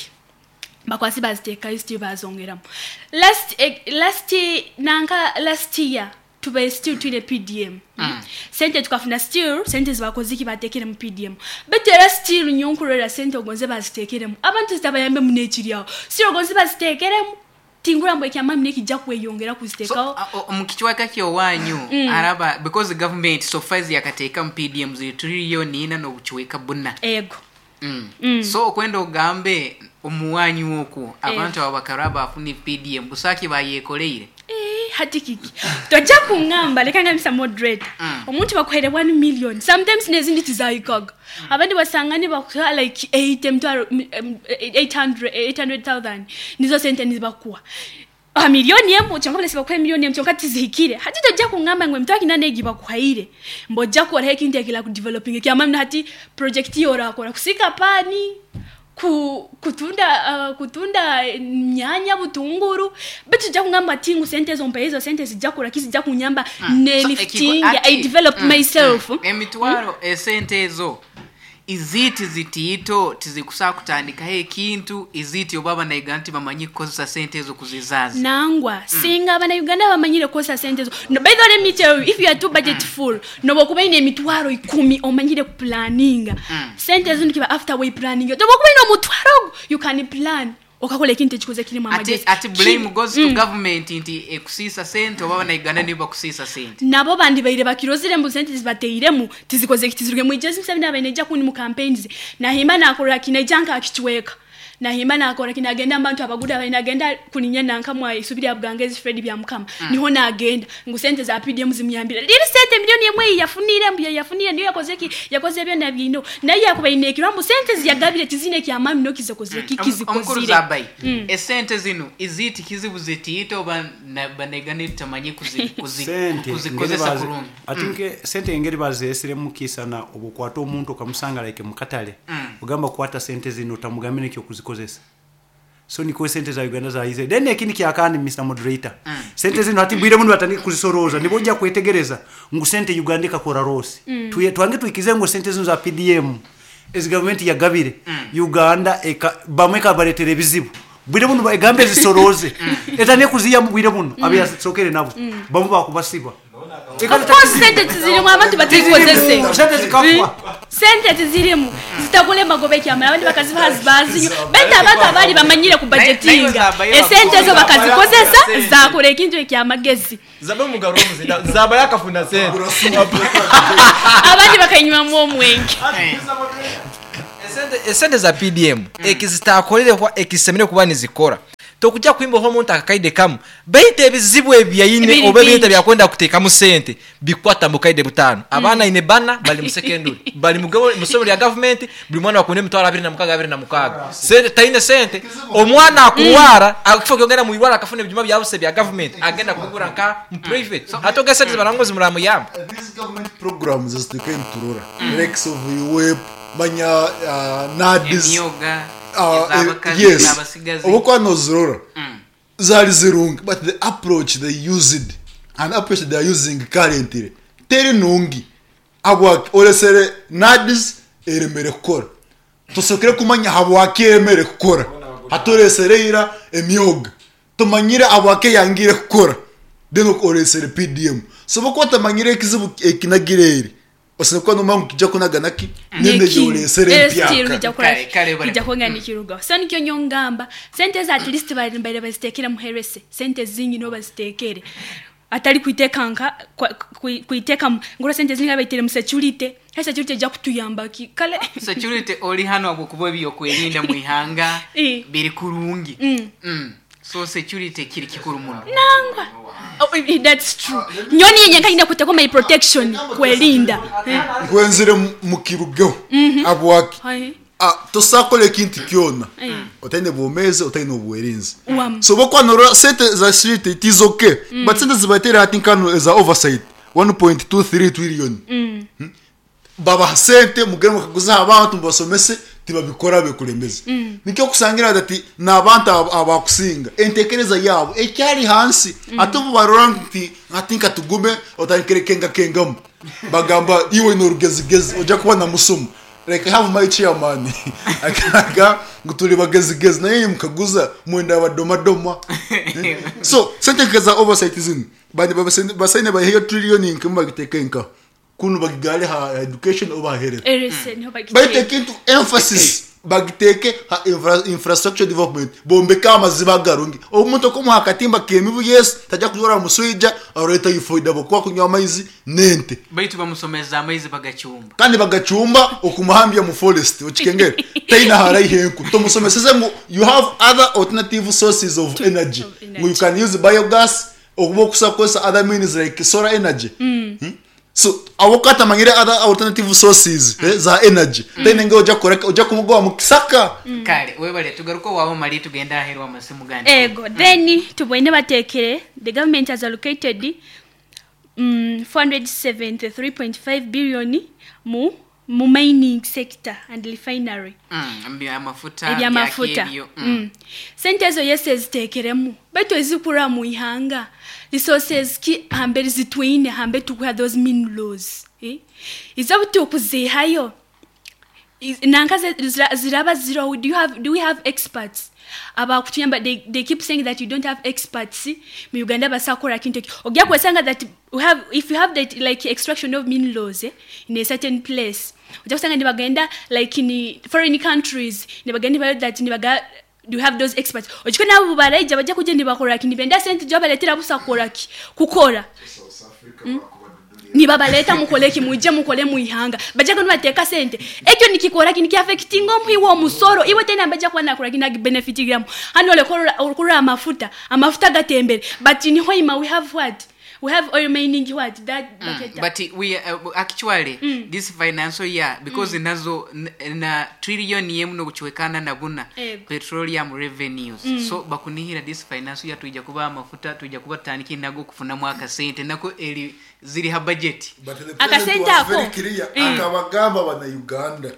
Bakwasi baziteekayo, still bazongeramu. Last nanka last year tubaye still twine PDM. Sente tukafuna still sente zibakoziki batekere mu PDM, but era still nyonkurera sente ogonze bazitekeremu abantu zitabayambe munekiryawo, still ogonze bazitekeremu tingura mbu ekyamami nekijja kweyongera So, kuziteekawo. Mu kichweka kyowanyu araba because government so far yakateeka mu PDM ziri trillion ina n'obuchweka buna. Ego. So okwenda ogambe omuwanyu okwo abantu abo bakaraba afune PDM busaki bayekoleire. Eh, hati kiki tojja kuŋŋamba, leka ngambisa moderator, omuntu bakuhaire 1 million, sometimes nezindi tizayikaga. Abandi basanga nibakuha like 8 emitwaro 800 800,000 nizo sente nizibakuwa. Ah, miliyoni emu kyonka balesi bakuha miliyoni emu kyonka tizihikire. Hati tojja kuŋŋamba ngu emitwaro kina negi bakuhaire mbojja kukoraho ekintu ekira kudeveloping ekyamani. Hati project yorakora kusika pani kutunda nyanya, butunguru, bitu jja kungamba ati ngu sente ezo mpa ezo sente zijja kora ki, zijja kunyamba ne So, lifting ati- I develop myself. Emitwaro esente ezo iziti zitiito tizikusaa kutandikaho ekintu iziti oba abanauganda tibamanyi kukozesa sente ezo kuzizaaza. Nangwa singa abanauganda bamanyire kukozesa sente ezo. No, by the way, let me tell you, if you are too budget full, noba ine emitwaro 10 omanyire kuplaninga sente ezo nikiba after way planning, noba okuba ine omutwaro ogwo, you can plan okakola ekintu ekikoze kirimu Ati, amagezi. ati blame goes to government nti ekusiisa sente oba abanauganda nibo bakusiisa sente? Nabo bandi baire bakirozire mbu sente zibateiremu tizikoze tizirugemu. Ijezi Museveni abaine ejja kundi mu campaigns nahimba nakora kina ejja nkakichweka nahimba nakora kina agenda abantu abaguda abaine agenda kuninya nankamwa isubiri abugangezi Fred bya mukama. Niho nagenda ngu sente za PDM zimuyambira liri sente milioni emwe yafunire mbu yafunire niyo yakoze ki yakoze byonna bino naye yakubaine ekiro mbu sente ziyagabire tizine kyamami no kizekoze ki Omukuru kizikozire. Zabayi, esente zino iziti kizibu zitiito oba banauganda tutamanyi Sente kuzikozesa engeri kurungi? Ati nke sente engeri bazeesiremu kisana obukwata omuntu okamusanga like mukatale, ogamba kwata sente zino otamugambe nekyo okuzikozesa. So niko sente za Uganda zahize. Then ekindi kyakandi, Mr Moderator, sente zino hati bwire muno batandika kuzisoroza, nibojja kwetegereza ngu sente Uganda ikakora rosi. Twange tuikize ngu sente zino za PDM ezi gavumenti yagabire Uganda eka, bamwe kabaletera ebizibu. Bwire buno egambe zisoroze, etandike kuziyamu bwire buno, abeyasokere nabo bamwe bakubasiba. Of course sente tizirimu, abantu batikozese. Sente zikafwa. Sente tizirimu, zitagula emagoba ekyamala, abandi bakazibaha zibazinyo, baitu abantu abali bamanyire ku budgetinga zabayo esente ezo bakazikozesa zakora ekintu ekyamagezi. Zabe mugaro omuzinda zaba yakafuna sente. Abandi bakanywamu omwenge. Esente za PDM ekizitakolerehwa ekisemere kuba nizikora, tokujja kwimbaho omuntu akakaide kamu, baitu ebizibu ebyaine Biri oba ebintu bingi. byakwenda kuteekamu sente bikwata mu kaide butano. Abaana ine bana bali mu secondary, bali mu somero lya gavumenti, buli mwana bakunda 26,000 26. Sente taine sente, omwana akurwara akifo kyongera mu irwara akafuna ebijuma byabuse bya gavumenti, agenda kugura nka mu private, ate oga sente barangozi muramuyamba. These government programs ezituke nturora, likes of UWEP, manya NADS, Emyoga, ez'abakazi, yes, ez'abasigazi. obukuba nozirora zali zirungi, but the approach they used and approach they are using currently teri nungi. Habwaki oresere NADS eremere kukora? Tusokere kumanya habwaki eremere kukora. Hatoresere ira emyoga, tumanyire habwaki yangire kukora, then oresere PDM. So bokuba tamanyire ekizibu ekinagire eri, osinokuba nomanya ngu kijja kunaganaki nende yoresere empyaka. Kale, kale, Kijja kwonga nikirugaho. So nikyo nyongamba sente za at least bari mbere bazitekere muherese sente zingi no bazitekere, atali kuiteka nka kuiteka ngura sente zingi baitere mu security. He security ejja kutuyamba ki kale? Security oli hano habwokuba ebyokwerinda mu ihanga biri kurungi. So security kiri kikuru muno. Nangwa. Oh, that's true. Nyoni yenye nkaina kuteko my protection kwerinda. Nkwenzire mukirugeho habwaki? Hai. Tosakola ekintu kyona otaine bwomezi, otaine obwerinzi. Wam. So bokwanora sente za street, it is okay, but sente zibatera hati nkano eza oversight 1.23 trillion. Babaha sente mugere mukaguza abantu mubasomese, tibabikora bekulembeze. Nikyo kusangira ati n'abantu abakusinga entekereza yabo ekyali hansi, ate obu barora nti ati nka tugume otandikire kengakengamu, bagamba iwe norugezigezi ojja kuba na musumu. Like I have my chairman akaga ngu tuli bagezigezi, naye mukaguza mwenda badomadoma. So sente za oversight zino bandi basaine bayiheyo trillion nkemu bagiteke nka kunu bagigale ha education oba health. Erese niho bagiteka. Baiteke into emphasis, bagiteke ha infrastructure development, bombeka amaziba agarungi, omuntu okumuha akatimba kemibu, yes, tajja kujora muswija areta ifoida bokuba kunywa amaizi nente. Baitu bamusomeza amaizi bagacumba. Kandi bagacumba okumuhambya mu forest okikengere taina haraihenku. Tomusomeseze ngu you have other alternative sources of energy, Of energy. ngu you can use biogas okuba okusakozesa other means like solar energy. So abo katamanyire other alternative sources za energy, taina nge ojja kukora ojja kumugoba mu kisaka. Kale webale, tugaruka waabo mali tugenda aheru amasimu gandi. Ego, then tubwine batekere the government has allocated 473.5 billion mu mining sector and refinery. Amafuta. Ebyamafuta. Byakebyo. Sente ezo yese zitekeremu, baitu ezikura mu ihanga resources ki hambere zitwine hambe tukuha those minerals, eh? Iza buti okuzihayo nanka ziraba zero. Do we have experts abakutuyamba? They keep saying that you don't have experts mu Uganda basakora kintu eki. Ojja kwesanga that we have, if you have that like extraction of minerals, in a certain place, ojja kusanga nibagenda like in foreign countries nibagenda nibayo that nibaga do you have those experts, ojiko nabo baraija bajja kujja nibakora ki, nibenda sente jo baletera busakora ki kukora nibabaleta mukoleki muje mukole muihanga, bajja kuno sente ekyo nikikora kini kiaffecting omuhi w'omusoro iwe tena bajja kuba nakora kina benefit gramu hano olekorora amafuta, amafuta gatembere, but in Hoima we have what We have oil mining, what that baketa. But we actually this financial year, because nazo na trillion yemu nokuchwekana na buna petroleum revenues, so bakunihira this financial year tuija kuba amafuta, tuija kuba tutandika nago kufunamu akasente nako eri ziri ha budget. But the Akasente president was ako. very clear. Akabagamba bana Uganda,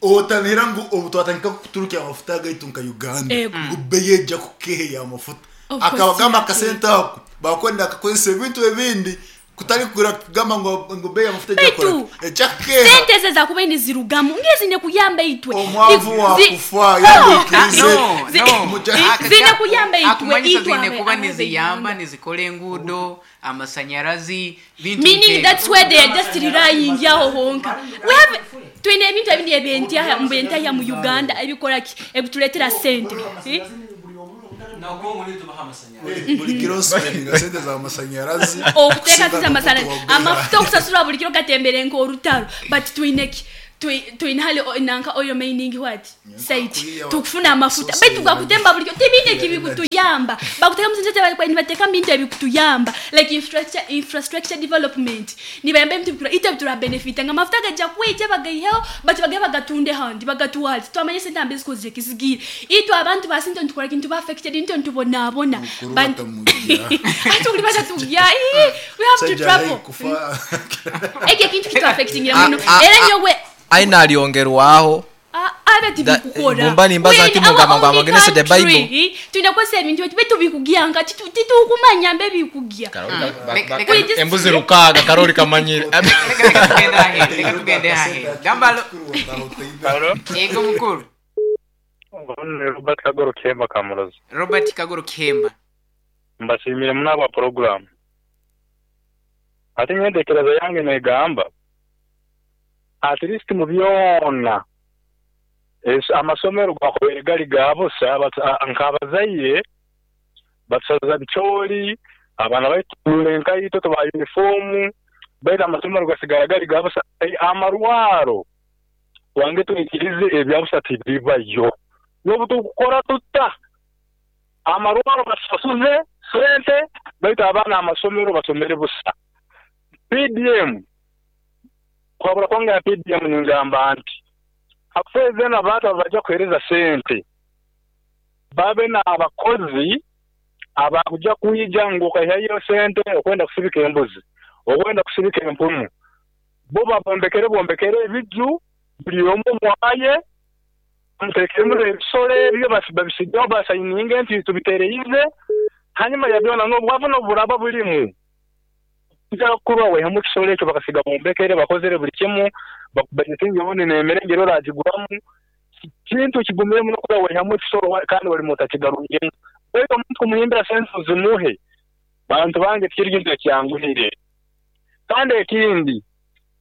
otanira ngu obu twatandika kuturukya amafuta gaitu nka Uganda, ngu beyeja kukeheya amafuta. Of course, Akabagamba yeah. akasente ako bakwenda akakozesa ebintu ebindi, kutali kugura kugamba ngo beyi amafuta ejja Baitu, kukola ejja kukeha. Sente ze zakuba nizirugamu ngezine kuyamba itwe. Omwavu wakufa No. yandikirize. No, no. Zine kuyamba itwe, Akumanyisa itwe zine kuba niziyamba, abe- nizikola enguudo, amasanyarazi, bintu Meaning nk'ebyo. that's where they are just relying yaho honka. We have twine ebintu ebindi ebyentyaha mbentahya mu Uganda ebikola ki ebituleetera sente. Eh? Buli kiro spendinga sente za masanyarazi. Okuteeka sente amasanyalazi, amafuta, okusasula buli kiro gatembere nk'olutalo, but twine ki? Twine hali nanka oil mining what site tukufuna amafuta, baitu gakutemba buli kiro tebine kibikutuyamba. Bakuteka mu sente, nibateeka mu bintu ebikutuyamba like infrastructure development, nibayamba ebintu bikura ite bitura benefit nga amafuta gajja kwija bagaiheho, but bagaye bagatunde handi bagatwale, twamanye sente ambi zikoze kizigire itwe abantu basinto ntukora kintu ba affected nto ntubonabona. Mukuru batamujja. Ati uli batatujja. We have to travel. Kufa. Ekyo ekintu kitu affectingira muno Ah, ah, era ah. nyowe. Aina aliongerwaho. Abe tibikukora. Mumba nimbaza We in nti mugamba our ngo only amagene the country, Bible. Tulina kukozesa ebintu ebi tubikugya nga titukumanya mbe bikugya. Embuzi 6 karoli kamanyire. Reka tugende aheru, reka tugende aheru. Gamba Halo? Yego mukuru. Ni Robert Kagoro Kemba Kamurozi. Robert Kagoro Kemba. Mbashimire munaba program. Ate nyendekereza yange negamba at least mu byona amasomero gakobere gali gabusa, nk'abazaire batusaza bicoori, abaana baitule enkaito, tubaha uniform, baitu amasomero gasigara gali gabusa. Amarwaro wange twikirize ebyabusa tibibayo, n'obu tukukora tuta amarwaro basasuze sente, baitu abaana amasomero basomere busa. PDM kwabura kwange ya PDM ningamba nti hafeze n'abantu abajja kuhereza sente babe n'abakozi abakuja kuija ngu okaihayo sente okwenda kusibika embuzi, okwenda kusibika empumu, bo babombekere bombekere ebiju buli omu mwaye mutekemu ebisolo ebyo babisigeho basayininge nti tubitereize. Hanyuma ya byona n'obwavu n'oburaba bulimu kuja kuba wehemu ekisolo ekyo bakasiga bombekere bakozere buli kimu bakubajetinge bone n'emerengero oragiguramu kintu kigumire muno kuba wehemu ekisolo kandi wali mutakigarungemu. Baitu omuntu kumuhimbira sente zimuhe bantu bange tikiri kintu ekyanguhire. Kandi ekindi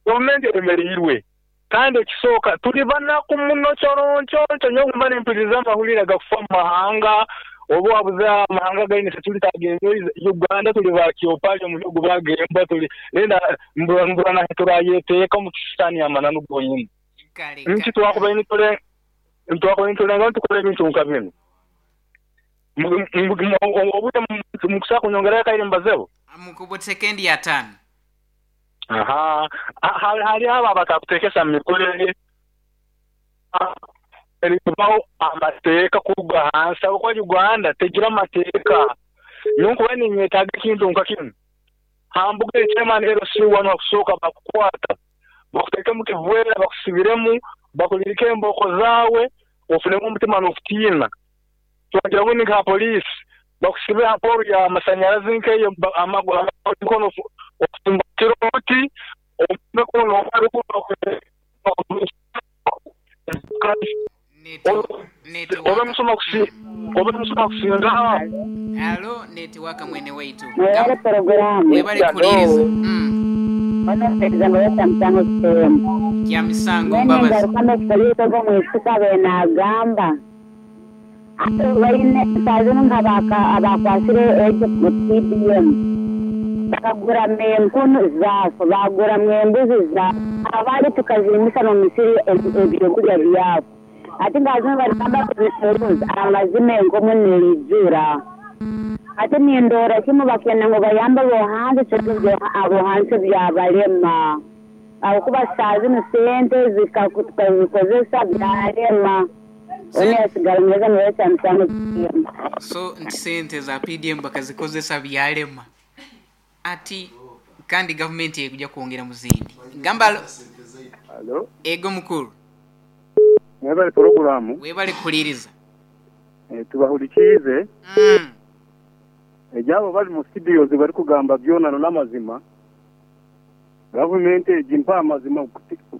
gavumenti eremereirwe, kandi ekisooka tuli banaku muno kyoronkyoncho nyowe mba nempuliriza amahulire gakufa mu mahanga oba wabuze amahanga gaine tuli tagenze Uganda tuli bakyopali omu bihugu bagemba tuli lenda mbura na turayeteeka mu kisitani amananu gonyini. Kale, Nti twakuba nitule twakuba nitulenga tukole ebintu nka bino. Obudde mukusa kunyongerayo kaire mbazeho. Mukubwa sekendi ya 5. Aha, hali aba bakakuteekesa mu mikorere erikubaho amateeka kuruga hansi, ahabw'okuba Uganda tegira amateeka. Nyowe nkuba ninyetaaga ekintu nka kinu, hambuga chairman LC1 wakusooka bakukwata, bakuteekemu kivwera, bakusibiremu, bakulirike emboko zaawe, ofunemu omutima n'okutiina. Twagira bundi nka poliisi, bakusibe ha poolo ya masanyarazi nk'eyo, amikono okusimbatira omuti, omukono obe musoma kusinga. Halo, netiwaka mwene waitu. Webale programu. Webale kuliriza. Bano ngo yata msango sehemu. Kya misango Mwene mbabazi. ngaruka n'okusolita gw'omwisuka benagamba. Baine sazino nk'abakwasire ekyo mu PDM. Bakagura empunu zaafu, bagura embuzi zaafu. Abandi tukazirimisa mu misiri ebyokurya byabo. Ate nga zino barigamba kuzicuruza, amazima enkomo neijura. Hati nindora kimu bakenda ngu bayambe abohansi, kyonka abohansi byabalema. Ahabwokuba saaha zinu sente tukazikozesa byalema. Onu yasigara neza nibaita misango PDM. So nti sente za PDM bakazikozesa byalema. Ati kandi gavumenti ekuja kwongera mu zindi. Gamba alo. Alo. Ego mukuru. Mwebale poroguramu. Webale kuhuliriza. Tubahulikiize. Ebyabo bali mu studios bari kugamba byona n'amazima. Gavumenti egi mpa amazima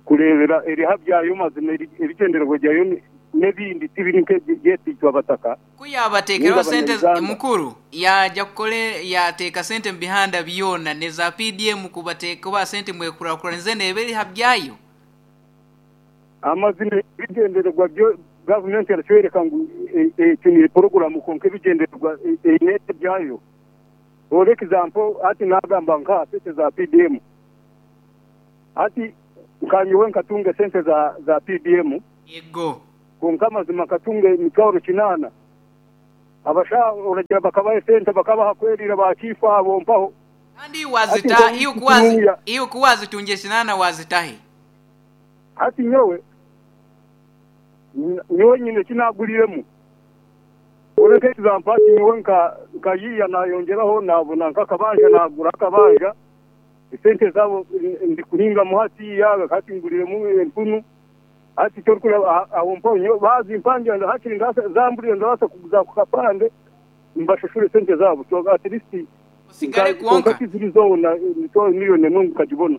kurebera eriha byayo mazima ebitendererwa byayo n'ebindi tibiri nk'ebyetitwa abataka. Kuyabateekeraho sente mukuru yaja kukole yateeka sente mu bihanda byona neza PDM kubateeka ba sente mwekurakuranize neberiha byayo. Amazima ebigendererwa byo gavumenti yaratwereka ngu ekinire poroguramu konka ebigendererwa einete byayo. For example, ati nagamba nka sente za PDM. Ati nkanyowe nkatunga sente za PDM. Yego. Konka amazima nkatunga emitwaro 8. Abasha oragira bakabaye sente bakabaha kwerira bakifa abo mpaho. Kandi wazita iyo kuwazi tunje 8 wazitahe. Ati nyowe nyine kinaguliremu. Oreke example ati nyowe nka yiya nayongeraho nabona nkakabanja nagura akabanja. Sente zabo ndi kuhinga muhati yaga kati nguliremu empunu. Ati cyo awo mponyo bazi impanje hakiri ngasa zamburiye ndabasa kuguza ku kapande mbashushure sente zabo so at least usigare kuonka kizirizo na mito miliyoni n'umwe kajibona.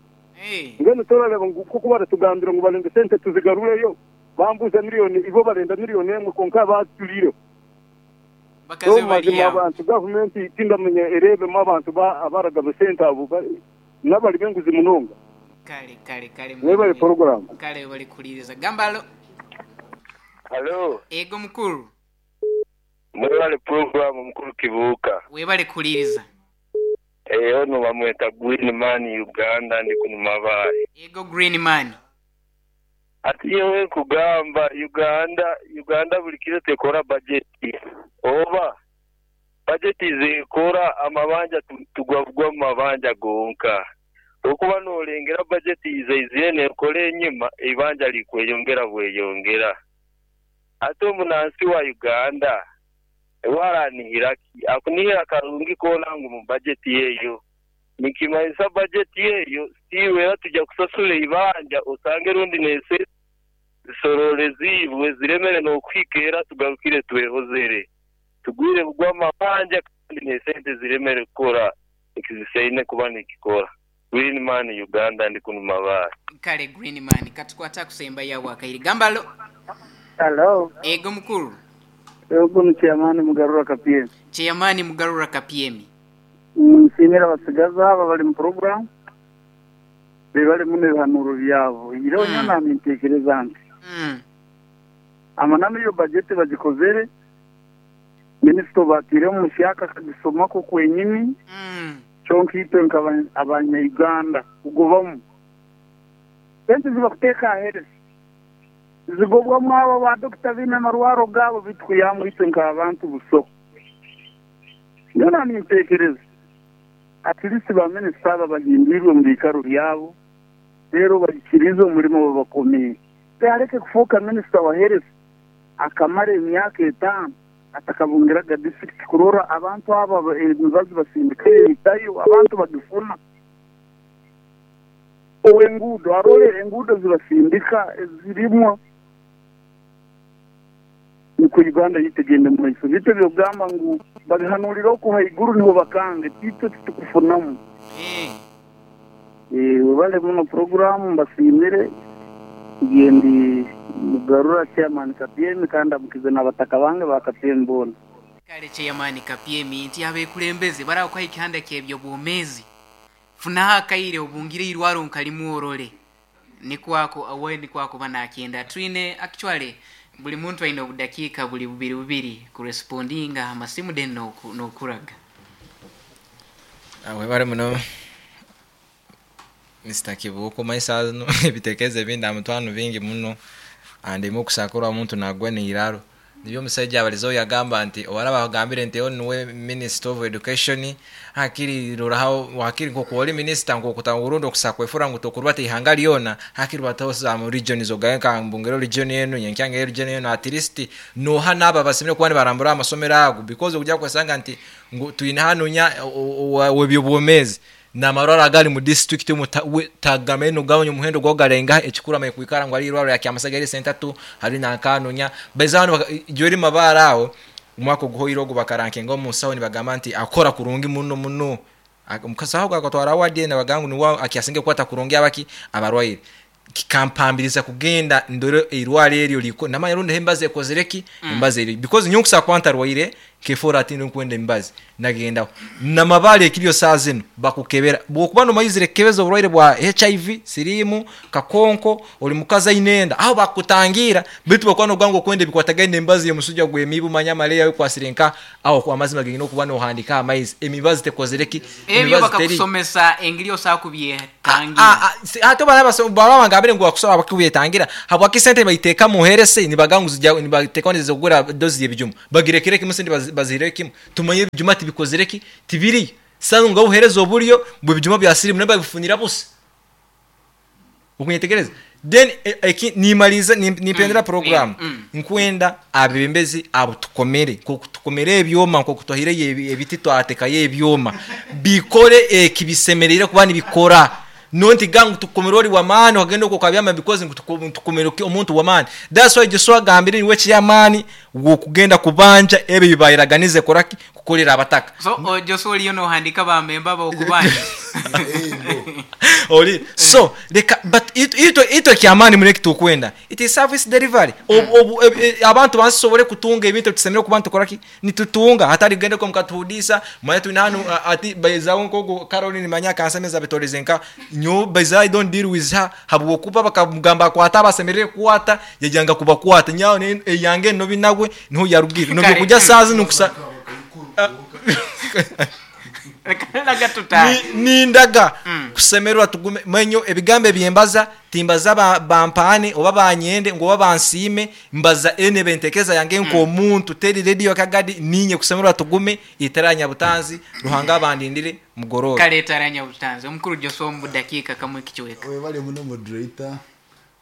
Ngeno torareba kuko baratugambira ngo barende sente tuzigarureyo bambuza miliyoni ibo barenda miliyoni emwe konka batulire bakaze bariya abantu government tindamenye erebe mu abantu abaragaba sente abo nabali benguzi munonga. Kale mwebale program. Kale bali kuliriza. Gamba alo. Hello. Ego mukuru. Mwebale program mukuru Kibuuka. Webale kuliriza. Ono bamweta Green Man Uganda ndi kunumabaye. Ego Green Man. Ati yewe kugamba Uganda buli kiro tekora budget. Oba budget zikora amabanja tugwagwa mabanja gonka. Okuba nolengera budget izeizene ekole enyuma ibanja likweyongera bweyongera. Ate omunansi wa Uganda ewaranihiraki akunihira karungi kona ngu mu budget yeyo. Nikimanisa budget yeyo siwe tujja kusasula ibanja osange rundi nese zisorole zibwe ziremere n'okwikera tugarukire twehozere. Tugwire bugwa amabanja kandi nesente ziremere kukora ekiziseine kuba nikikora. Green Man Uganda ndi kunumabara. Kale Green Man katukwata kusemba yawo akairi. Gamba alo. Hello. Ego mukuru. Ego ni Chairman Mugarura Kapyemi. Chairman Mugarura Kapyemi. Nsimira abasigaza aba bali mu program. Bebale muno bihanuro byabo. Iro nyana mintekereza nti. Amananu yo budget bagikozere. Minister batire mu syaka kagisoma ko kwenyini. Kyonka itwe abanya Uganda kugobamu. Sente zibakuteeka ahead. Zigobwamu abo ba dokita bine marwaro gabo bitwiyamu itwe nk'abantu buso. Nyona nintekereza. At least ba minisita aba bahindurirwe mu bikaro byabo. Rero bakirize umurimo babakomeye. Yareke kufuka minisita wa health akamara emyaka 5 atakabungiraga district kurora abantu aba emibazi basindika itayo abantu bagifuna. Owengudo arole engudo zibasindika zirimo niko Uganda yitegende mu maiso. Bito byogamba ngu babihanurira ko haiguru niho bakange tito tukufunamu. Webale muno program mbasimire gendi Mugarura Chairman Kapyemi kandi amukize n'abataka bange ba Kapyemi bona. Kale Chairman Kapyemi nti abekulembeze barakwa ikihanda kyebyo bwomezi. Funaha akaire obungire irwaro nkalimu orole. Nikwako awe nikwako banakenda. Twine actually buli muntu aine obudakiika buli bubiri bubiri kurespondinga amasimu den nokuraga. Webale muno Mr. Kibuuka maisa no ebitekerezo ebindi amutwano bingi muno andimo kusakura omuntu nagwa neiraro. Nibyo omusajja abalizeho yagamba nti owaraba agambire nti ono niwe minister of education, hakiri roraho hakiri nkoku ori minister nkoku urundi okusa kwefura ngu tokurubata ihanga lyona, hakiri batosa mu regions ogaye nka mbungero region enu nyenkyange region enu, at least noha naba basemire kuba nibarambura amasomero ago, because okujya kwesanga nti ngu twine hanu nya webyobwomezi namarwaro agali mu district mu tagamene nogabanya omuhendo gwagarenga ekikuru amaye kwikara ngu ari irwaro ya Kyamusaga eri senta tu hari nankanunya bezano jweri mabara aho umwaka oguhoire ogu bakarankinga omusawo nibagamba nti akora kurungi muno muno omukasaho gakatwara award nabagangu niwa akyasinge kwata kurungi abaki abarwaire kikampambiriza kugenda ndore irwaro eryo liko namanya rundi hembaze ekozereki embaze eri because nyonkusa kwanta rwaire kefora ati nkwenda embazi nagenda namabale ekiryo saa zino bakukebera bwokuba no mayizire kebeza oburwaire bwa HIV sirimu kakonko oli mukaza inenda aho bakutangira bitu bakwa no gwango kwenda bikwatagenda embazi yemusuja gwe mibu manya maleya yo kwasirenka aho kwa mazima gengino kuba no handika amaizi emibazi tekozereki ebyo bakakusomesa engiri osakubye tangira ate bana baba ngabire ngo bakusaba bakubyetangira habwa kisente bayiteka muherese nibagangu nibateka nizo kugura dozi yebijumu bagirekere kimwe sente bazire kimwe tumanye ebijuma tibikozereki tibiri sanu ngo uhereza oburyo bwe bijuma bya sirimu naba bifunira bose ukunyetegereza then nimaliza nipendera program nkwenda abebembezi abo tukomere ko tukomere ebyoma ko kutohire ebiti twateka yebyoma bikore ekibisemerere kuba nibikora nonti gangu tukomerori wa maani wagenda uko kabyama because tukomero omuntu wa maani. That's why Joshua gambire niwe kyamani wokugenda kubanja ebe bibayiraganize koraki kukolera abataka. So Joshua oliyo no handika ba memba ba okubanja oli so leka but ito kyamani muneki tukwenda it is service delivery. Abantu bansobole kutunga ebintu tusemere kubantu koraki nitutunga hatari gende ko mukatuhudisa manya tunanu ati bayizawo nkogo Caroline manya kansemeza bitorezenka nyo bayiza I don't deal with her habwo kuba bakamugamba kwata basemerere kwata yajanga kubakwata nyawo yange no binagwe niho yarugira no kujya sazi nukusa nindaga kusemerwa tugume menyo ebigambe byembaza timbaza bampane oba banyende ngo bansime mbaza ene bentekeza yange nko omuntu teri radio kagadi ninye kusemerwa tugume itaranya butanzi ruhanga abandindire mugororo kale taranya butanzi omukuru Joshua mu dakika kamwe kichweka we bali muno moderator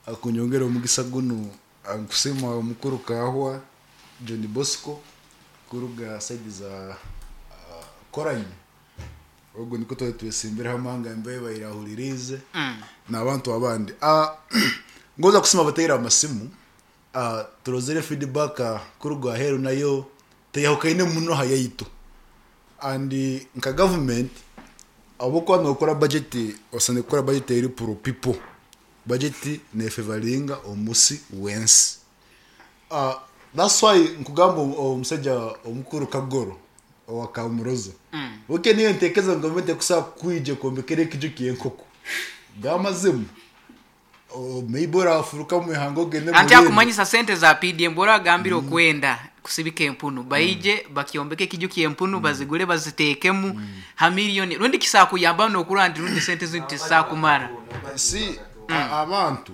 akunyongera omugisa guno nkusema omukuru kahwa John Bosco kuruga side za Koranye ogo niko twesimbira hamanga mbe bayirahuririze n'abantu abandi ngoza kusema batera amasimu turozere feedback kuruga heru nayo teyahukaine muno hayayito and nka government abo kwa nokora budget osane kora budget eri pro people budget ne favoringa omusi wensi. That's why nkugamba omusajja omukuru Kagoro wakamuroza oke niyo ntekeza government kusa kwije kombekere kijukiye nkoko gamazimu maybe afuruka mu hango gende anti akumanyisa sente za PDM bora agambira okwenda kusibika empunu baije bakiombeke kijukiye empunu bazigule bazitekemu ha million rundi kisakuyamba no kurandi rundi sente zinti sakumara si abantu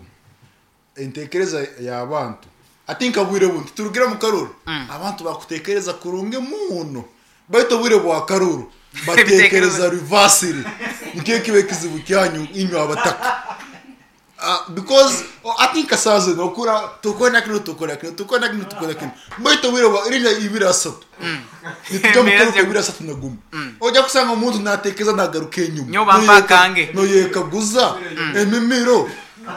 entekereza ya abantu atinka bwire buntu turugira mu karuru abantu bakutekereza kurunge muno baito bwire bwa karuru batekereza reversal nikiye kibe kizibu kyanyu inyo abataka because I think asaze nokura tukona kino tukona kino tukona kino tukona kino baito bwire bwa irina ibira satu nitujya mu karuru ibira satu naguma ojya kusanga umuntu natekeza nagaruke nyuma nyo bambakange no yekaguza emimiro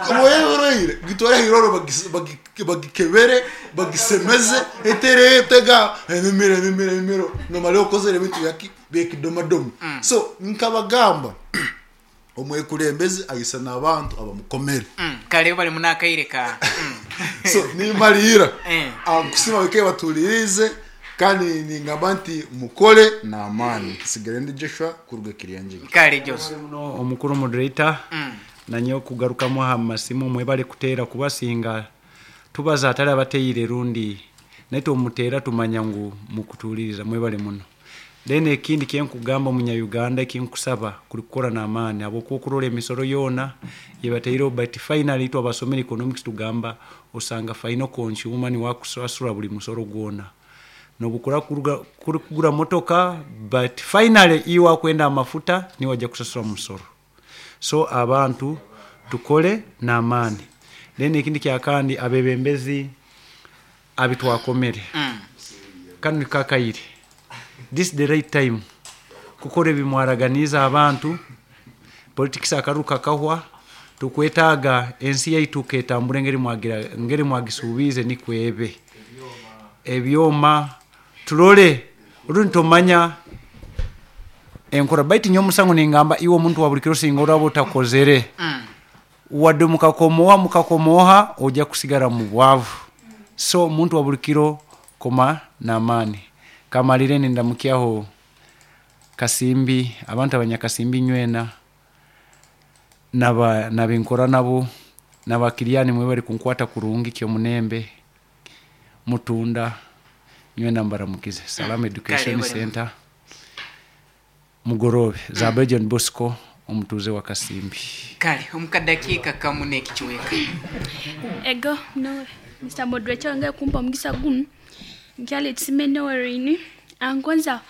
wewereire gitore hiroro bagikebere bagisemeze etere tega emimiro emimiro emimiro no maleo kozere bintu yaki bekidomadomo so nkabagamba omwekulembeze ayisa n'abantu abamukomere kale bali munakaireka so nimalira akusima bike batulirize kandi ningamba nti mukole n'amaani sigare ndi Joshua kuruga Kiryanjigi kale Joshua omukuru moderator nanyo kugarukamu aha masimu mwebale kuteera kubasinga tubaza atali abateire rundi naye omutera tumanya ngu mukutuliriza mwebale muno. Then ekindi kyenkugamba omunya-Uganda, ekinkusaba kuri kukora n'amaani, habwokuba okurora emisoro yoona yebataireho, but finally itwe abasomere economics tugamba osanga final consumer niwe akusasura buli musoro gwona, nobukura kuri kugura motoka, but finally iwe akwenda amafuta niwe ajja kusasura musoro. So abantu tukore n'amaani. Then ekindi kyakandi, abebembezi abitwakomere kanu nikakaire, this is the right time kukora ebimwaraganiza abantu. Politics akaruru kakahwa, tukwetaaga ensi yaitu ketambura engeri mwagira, ngeri mwagisuubiize, nikwebe ebyoma turole rundi tumanya enkora. Baitu nyowe omusango ningamba iwe omuntu wa buli kiro, singa oraba otakozere, wadde mukakomoha mukakomoha, ojja kusigara mu bwavu. So omuntu wa buli kiro, koma n'amaani. Kamalire nindamukyaho Kasimbi, abantu abanyakasimbi nywena, naba nabinkora nabo, nabakiriani mwe bari kunkwata kurungi kyomunembe mutunda nywena, mbaramukize. Salam Education Kale, Center mugorobe za John Bosco, omutuuze wa Kasimbi. Kale, omukadakiika kamu n'ekichweka. Ego no Mr. Moderator wange kumpa omugisa gumu, nkyala ekisime nowerini ankonza.